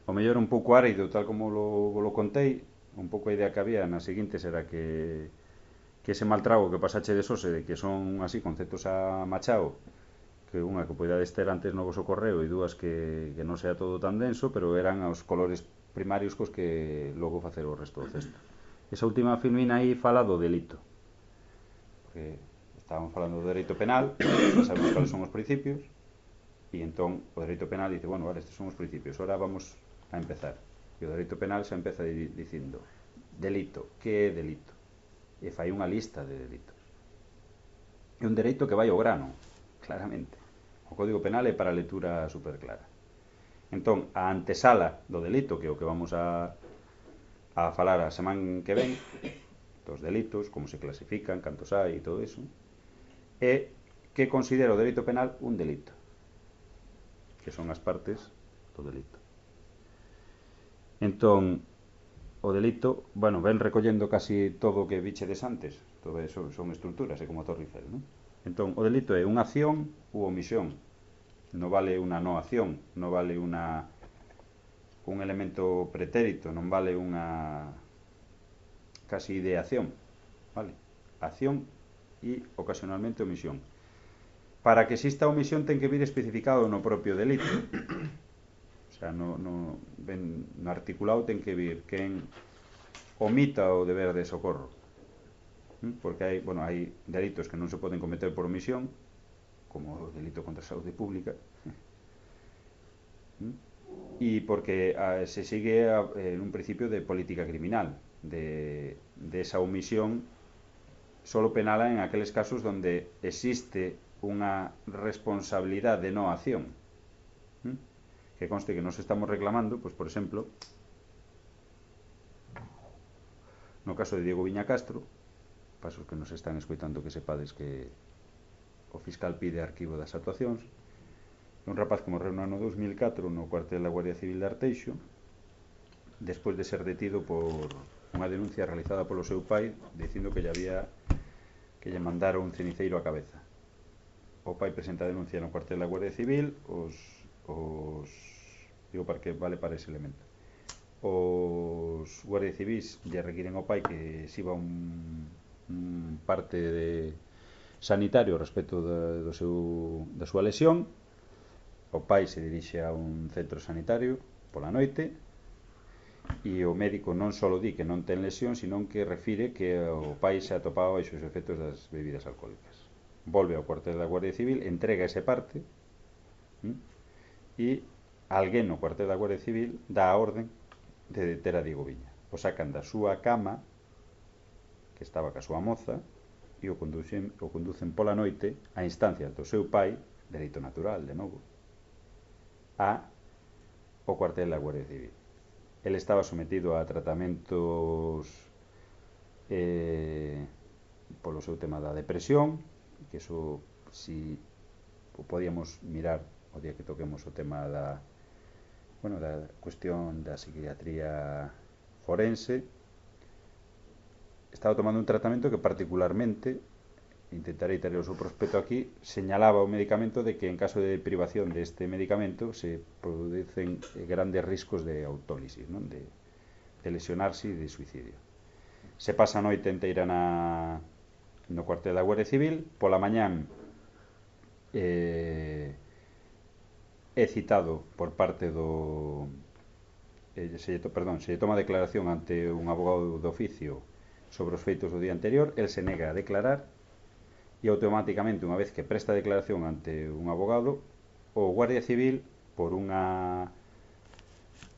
o mellor un pouco árido, tal como lo, lo contei, un pouco a idea que había nas seguintes era que que ese mal trago que pasache de sose de que son así conceptos a machao, que unha que podíades ter antes no voso correo e dúas que, que non sea todo tan denso, pero eran os colores primarios cos que logo facer o resto do cesto. Esa última filmina aí fala do delito, porque estábamos falando do dereito penal, xa sabemos cales son os principios, e entón o dereito penal dice, bueno, vale, estes son os principios, ahora vamos a empezar. E o dereito penal xa empeza dicindo delito, que é delito? E fai unha lista de delitos. É un dereito que vai ao grano, claramente. O Código Penal é para a lectura super clara. Entón, a antesala do delito, que é o que vamos a, a falar a semana que ven, dos delitos, como se clasifican, cantos hai e todo iso, é que considera o dereito penal un delito, que son as partes do delito. Entón, o delito, bueno, ven recollendo casi todo o que bichedes antes, todo eso son estructuras, é como a Torre Eiffel, non? Entón, o delito é unha acción ou omisión, non vale unha no acción, non vale unha un elemento pretérito, non vale unha casi ideación, vale? Acción e ocasionalmente omisión. Para que exista omisión ten que vir especificado no propio delito. O sea, no, no, ben, no articulado ten que vir quen omita o deber de socorro. Porque hai, bueno, hai delitos que non se poden cometer por omisión, como o delito contra a saúde pública, e porque a, se sigue a, en un principio de política criminal, de, de esa omisión solo penala en aqueles casos donde existe unha responsabilidade de no acción. Que conste que nos estamos reclamando, pois, por exemplo, no caso de Diego Viña Castro, pasos que nos están escoitando que sepades que o fiscal pide arquivo das actuacións, un rapaz que morreu no ano dos mil catro no cuartel da Guardia Civil de Arteixo, despois de ser detido por unha denuncia realizada polo seu pai dicindo que lle había que lle mandara un ceniceiro á cabeza. O pai presenta a denuncia no cuartel da Guardia Civil, os, os digo para que vale para ese elemento. Os guardias civis lle requiren ao pai que exhiba un, un parte de sanitario respecto da, do seu, da súa lesión. O pai se dirixe a un centro sanitario pola noite e o médico non só di que non ten lesión, sino que refire que o pai se atopaba baixo os efectos das bebidas alcohólicas. Volve ao cuartel da Guardia Civil, entrega ese parte e alguén no cuartel da Guardia Civil dá a orden de deter a Diego Viña. O sacan da súa cama, que estaba ca súa moza, e o conducen, o conducen pola noite a instancias do seu pai, dereito natural, de novo, a o cuartel da Guardia Civil. Ele estaba sometido a tratamentos eh, polo seu tema da depresión, que eso, si o podíamos mirar o día que toquemos o tema da bueno, da cuestión da psiquiatría forense, estaba tomando un tratamento que particularmente, intentarei ter o seu prospecto aquí, señalaba o medicamento de que en caso de privación deste medicamento se producen grandes riscos de autólisis, non? De, de lesionarse e de suicidio. Se pasa a noite inteira na, no cuartel da Guardia Civil, pola mañán eh, é citado por parte do eh, se, perdón, se toma declaración ante un abogado de oficio sobre os feitos do día anterior, el se nega a declarar e automáticamente, unha vez que presta declaración ante un abogado, o Guardia Civil, por unha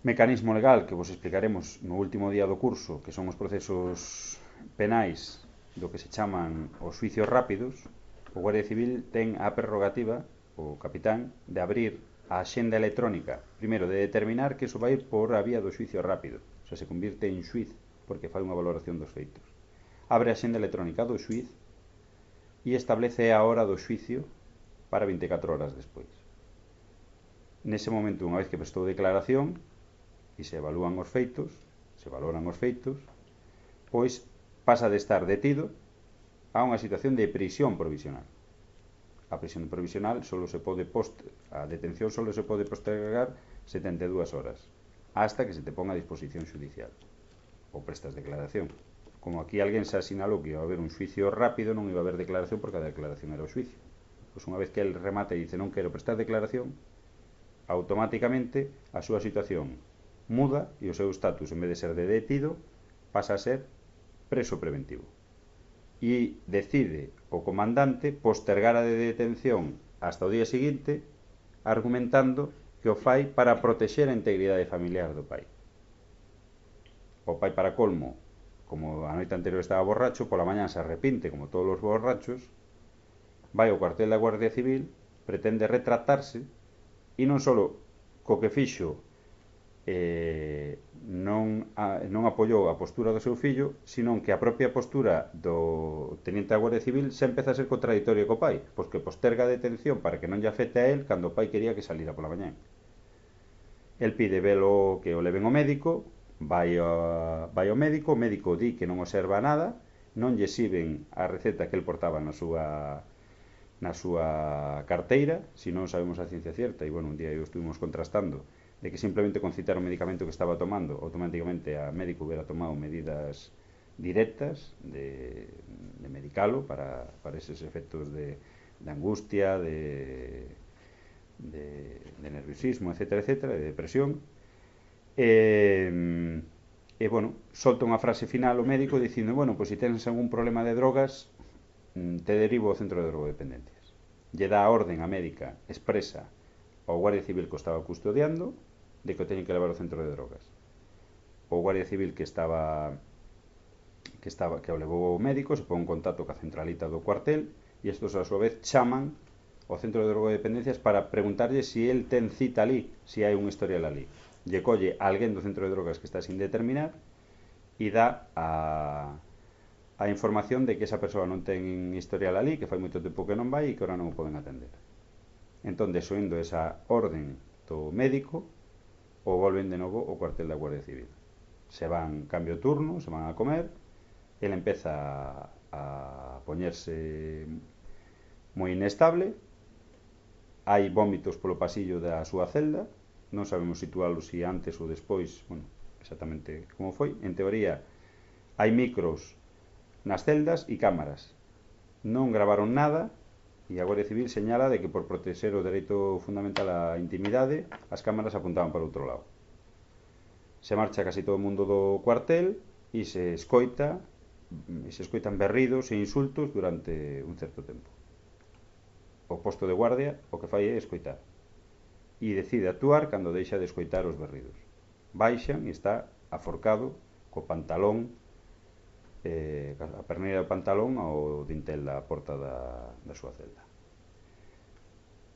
mecanismo legal que vos explicaremos no último día do curso, que son os procesos penais do que se chaman os xuicios rápidos, o Guardia Civil ten a prerrogativa, o capitán, de abrir a axenda electrónica, primeiro, de determinar que iso vai ir por a vía do xuicio rápido, o sea, se convirte en xuiz porque fai unha valoración dos feitos. Abre a axenda electrónica do xuiz e establece a hora do xuicio para vinte e catro horas despois. Nese momento, unha vez que prestou declaración e se evalúan os feitos, se valoran os feitos, pois pasa de estar detido a unha situación de prisión provisional. A prisión provisional solo se pode post a detención solo se pode postergar setenta e dúas horas hasta que se te ponga a disposición judicial. ou prestas declaración. Como aquí alguén se asinalou que iba a haber un xuicio rápido, non iba a haber declaración porque a declaración era o xuicio. Pois unha vez que el remate e dice non quero prestar declaración, automáticamente a súa situación muda e o seu estatus, en vez de ser de detido, pasa a ser preso preventivo. E decide o comandante postergar a detención hasta o día seguinte, argumentando que o fai para protexer a integridade familiar do pai. O pai, para colmo, como a noite anterior estaba borracho, pola mañá se arrepinte, como todos os borrachos, vai ao cuartel da Guardia Civil, pretende retratarse, e non só co que fixo eh, non, a, non apoiou a postura do seu fillo, sino que a propia postura do teniente da Guardia Civil se empeza a ser contradictoria co pai, pois que posterga a detención para que non lle afecte a él cando o pai quería que salira pola mañá. El pide velo que o leven ao médico, vai, a, vai ao médico, o médico di que non observa nada, non lle exhiben a receta que el portaba na súa na súa carteira, se non sabemos a ciencia cierta, e bueno, un día eu estuvimos contrastando de que simplemente con citar o medicamento que estaba tomando, automáticamente a médico hubiera tomado medidas directas de, de medicalo para, para eses efectos de, de angustia, de, de, de nerviosismo, etcétera, etcétera, de depresión. E, e bueno, solta unha frase final o médico dicindo, bueno, pois se tens algún problema de drogas, te derivo ao centro de drogodependencias. Lle dá a orden a médica expresa ao Guardia Civil que o estaba custodiando de que o teñen que levar ao centro de drogas. O Guardia Civil que estaba que estaba que o levou o médico se pon en contacto ca centralita do cuartel e estos a súa vez chaman ao centro de drogodependencias para preguntarlle se el ten cita ali, se hai un historial ali. Lle colle a alguén do centro de drogas que está sin determinar e dá a a información de que esa persoa non ten historial ali, que fai moito tempo que non vai e que ahora non o poden atender. Entón, desoindo esa orden do médico, o volven de novo ao cuartel da Guardia Civil. Se van cambio turno, se van a comer, ele empeza a poñerse moi inestable, hai vómitos polo pasillo da súa celda, non sabemos situálo se antes ou despois, bueno, exactamente como foi. En teoría, hai micros nas celdas e cámaras. Non gravaron nada e a Guardia Civil señala de que por protexer o dereito fundamental á intimidade as cámaras apuntaban para outro lado. Se marcha casi todo o mundo do cuartel e se escoita e se escoitan berridos e insultos durante un certo tempo. O posto de guardia o que fai é escoitar e decide actuar cando deixa de escoitar os berridos. Baixan e está aforcado co pantalón Eh, a perneira do pantalón ao dintel da porta da, da súa celda.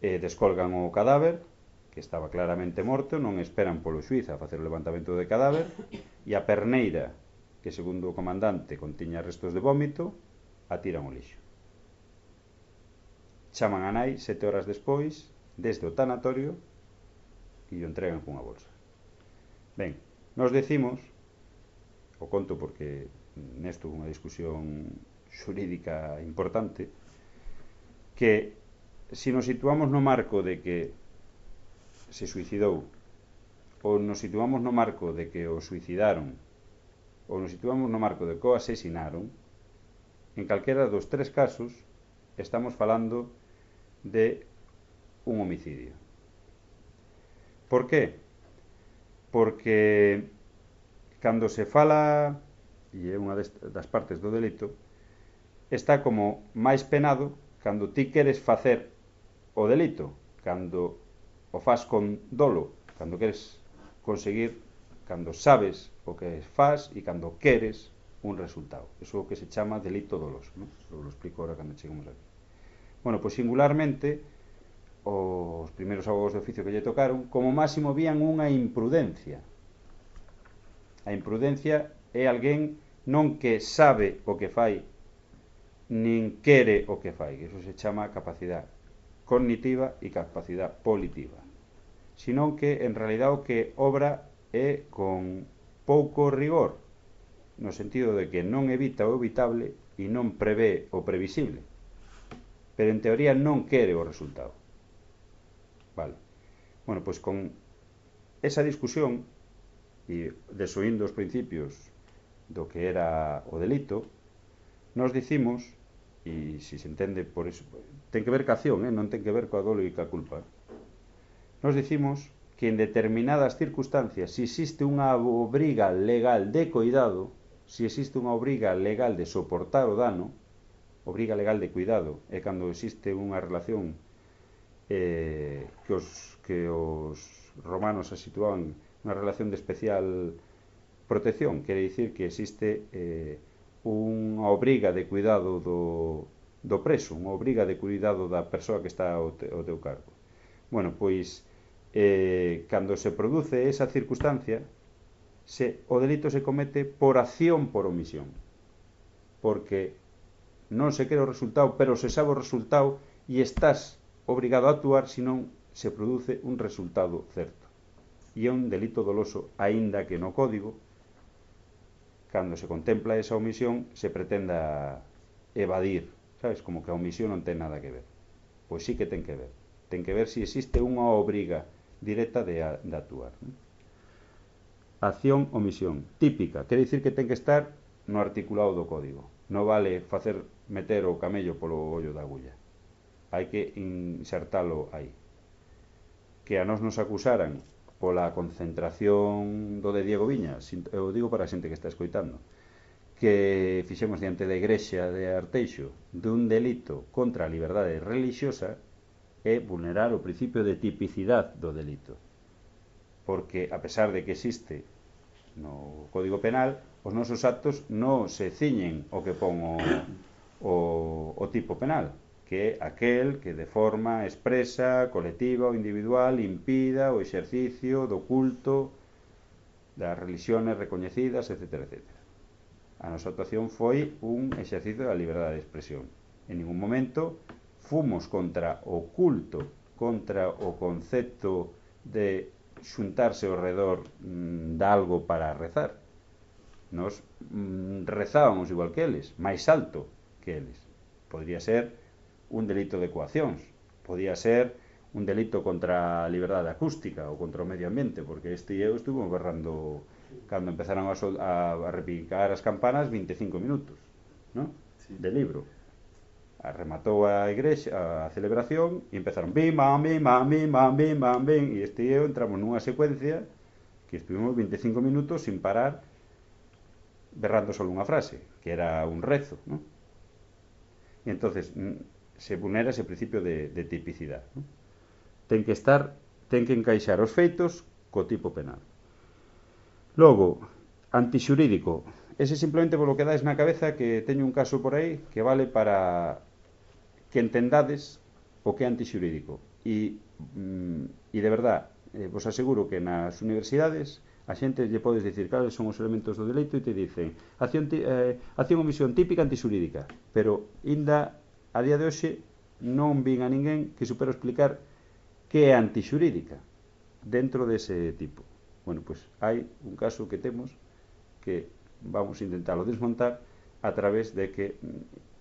E descolgan o cadáver, que estaba claramente morto, non esperan polo xuiz a facer o levantamento de cadáver, e a perneira, que segundo o comandante contiña restos de vómito, a tiran ao lixo. Chaman a nai sete horas despois, desde o tanatorio, e o entregan cunha bolsa. Ben, nos decimos, o conto porque nesto unha discusión xurídica importante, que se nos situamos no marco de que se suicidou ou nos situamos no marco de que o suicidaron ou nos situamos no marco de que o asesinaron, en calquera dos tres casos estamos falando de un homicidio. Por qué? Porque cando se fala, e é unha das partes do delito, está como máis penado cando ti queres facer o delito, cando o faz con dolo, cando queres conseguir, cando sabes o que faz e cando queres un resultado. Eso é o que se chama delito doloso, ¿no? Eso lo explico ahora cando chegamos aquí. Bueno, pois singularmente os primeiros abogados de oficio que lle tocaron como máximo vían unha imprudencia. A imprudencia é alguén non que sabe o que fai, nin quere o que fai. Eso se chama capacidade cognitiva e capacidade volitiva. Senón que, en realidad, o que obra é con pouco rigor, no sentido de que non evita o evitable e non prevé o previsible. Pero, en teoría, non quere o resultado. Vale. Bueno, pois con esa discusión e desoindo os principios do que era o delito, nos dicimos, e se se entende por iso, ten que ver ca acción, eh? Non ten que ver coa dolo e ca culpa. Nos dicimos que en determinadas circunstancias, se existe unha obriga legal de cuidado, se existe unha obriga legal de soportar o dano, obriga legal de cuidado, é cando existe unha relación eh, que, os, que os romanos se situaban unha relación de especial protección, quere dicir que existe eh, unha obriga de cuidado do, do preso, unha obriga de cuidado da persoa que está ao, te, ao teu cargo. Bueno, pois eh, cando se produce esa circunstancia, se, o delito se comete por acción por omisión, porque non se quere o resultado, pero se sabe o resultado e estás obrigado a actuar, senón se produce un resultado certo. E é un delito doloso, aínda que no código, cando se contempla esa omisión, se pretenda evadir, sabes, como que a omisión non ten nada que ver. Pois sí que ten que ver. Ten que ver se existe unha obriga directa de, a, de actuar. Acción, omisión. Típica, quere dicir que ten que estar no articulado do código. Non vale facer meter o camello polo ollo da agulla. Hai que insertalo aí. Que a nós nos acusaran pola concentración do de Diego Viña, eu digo para a xente que está escoitando, que fixemos diante da igrexa de Arteixo dun delito contra a liberdade religiosa, é vulnerar o principio de tipicidade do delito. Porque, a pesar de que existe no Código Penal, os nosos actos non se ciñen o que pon o, o, o tipo penal, que é aquel que de forma expresa, colectiva ou individual impida o exercicio do culto das religións recoñecidas, etcétera, etcétera. A nosa actuación foi un exercicio da liberdade de expresión. En ningún momento fomos contra o culto, contra o concepto de xuntarse ao redor mm, de algo para rezar. Nos mm, rezábamos igual que eles, máis alto que eles. Podría ser un delito de coaccións, podía ser un delito contra a liberdade acústica ou contra o medio ambiente, porque este e eu estuvo berrando cando empezaron a, sol, a, a repicar as campanas vinte e cinco minutos, ¿no? Sí. De libro. Rematou a igrexa, a celebración, e empezaron bim, bam, bim, bam, bim, bam, bim, bam, bim, e este e eu entramos nunha secuencia que estuvimos vinte e cinco minutos sin parar berrando só unha frase, que era un rezo, ¿no? E entonces se vulnera ese principio de, de tipicidade, ¿no? Ten que estar, ten que encaixar os feitos co tipo penal. Logo, antixurídico. Ese simplemente polo que dais na cabeza, que teño un caso por aí que vale para que entendades o que é antixurídico. E, mm, e de verdad, eh, vos aseguro que nas universidades a xente lle podes dicir cales son os elementos do delito e te dicen acción, eh, acción omisión típica antixurídica, pero inda a día de hoxe non vin a ninguén que supera explicar que é antixurídica dentro dese tipo. Bueno, pois pues, hai un caso que temos que vamos a intentarlo desmontar a través de que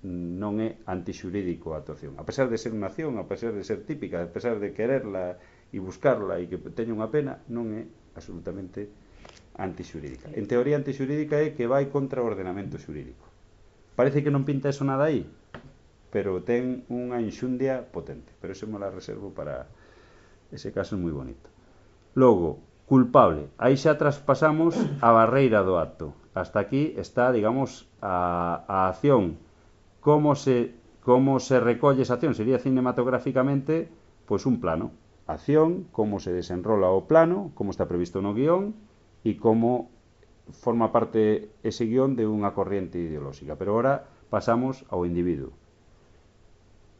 non é antixurídico a actuación. A pesar de ser unha acción, a pesar de ser típica, a pesar de quererla e buscarla e que teña unha pena, non é absolutamente antixurídica. En teoría antixurídica é que vai contra o ordenamento xurídico. Parece que non pinta eso nada aí, pero ten unha enxundia potente, pero eso me la reservo para ese caso, é moi bonito. Logo, culpable, aí xa traspasamos a barreira do acto, hasta aquí está, digamos, a, a acción, como se, como se recolle esa acción, sería cinematográficamente pois un plano, acción, como se desenrola o plano, como está previsto no guión e como forma parte ese guión de unha corriente ideolóxica. Pero ahora pasamos ao individuo,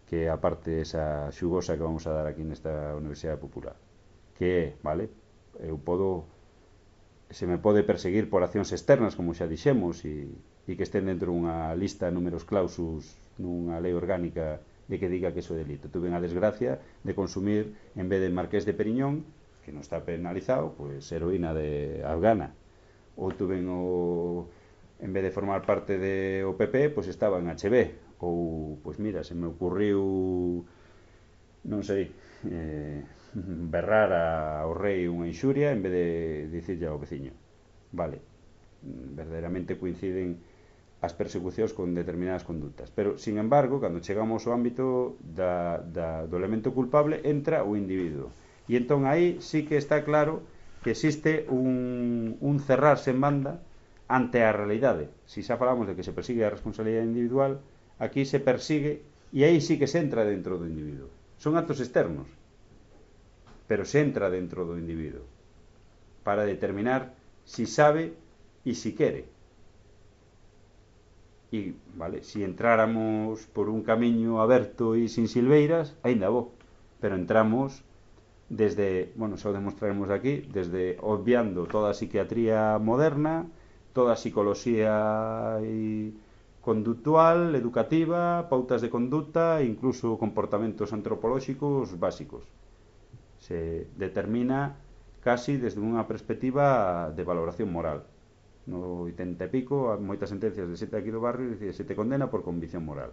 que é a parte esa xugosa que vamos a dar aquí nesta Universidade Popular, que é, vale, eu podo, se me pode perseguir por accións externas, como xa dixemos, e, e que estén dentro dunha lista de números clausus nunha lei orgánica de que diga que iso é delito. Tuve a desgracia de consumir, en vez de Marqués de Periñón, que non está penalizado, pois heroína de afgana, ou tuve o, en vez de formar parte do P P, pois estaba en H B, ou, pois mira, se me ocurriu, non sei, eh, berrar ao rei unha inxuria en vez de dicirlle ao veciño. Vale, verdadeiramente coinciden as persecucións con determinadas conductas. Pero, sin embargo, cando chegamos ao ámbito da, da, do elemento culpable, entra o individuo. E entón aí sí que está claro que existe un, un cerrarse en banda ante a realidade. Si xa falamos de que se persigue a responsabilidade individual, aquí se persigue e aí sí que se entra dentro do individuo. Son actos externos, pero se entra dentro do individuo para determinar si sabe e si quere. E, vale, si entráramos por un camiño aberto e sin silveiras, aínda bo, pero entramos desde, bueno, xa o demostraremos aquí, desde obviando toda a psiquiatría moderna, toda a psicología e conductual, educativa, pautas de conducta e incluso comportamentos antropolóxicos básicos. Se determina casi desde unha perspectiva de valoración moral. No oitenta e pico, hai moitas sentencias de sete aquí do barrio e se te condena por convicción moral.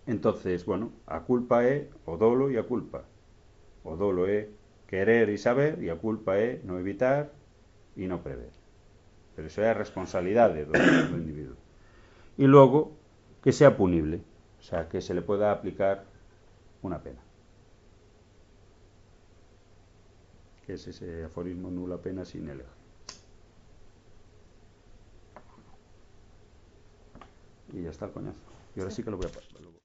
Entonces, bueno, a culpa é o dolo e a culpa. O dolo é querer e saber e a culpa é non evitar e non prever. Pero iso é a responsabilidade do, do individuo. E logo, que sea punible, o sea, que se le pueda aplicar unha pena. Que es ese aforismo nula pena sin elega. Y ya está el coñazo. Y ahora sí que lo voy a pasar.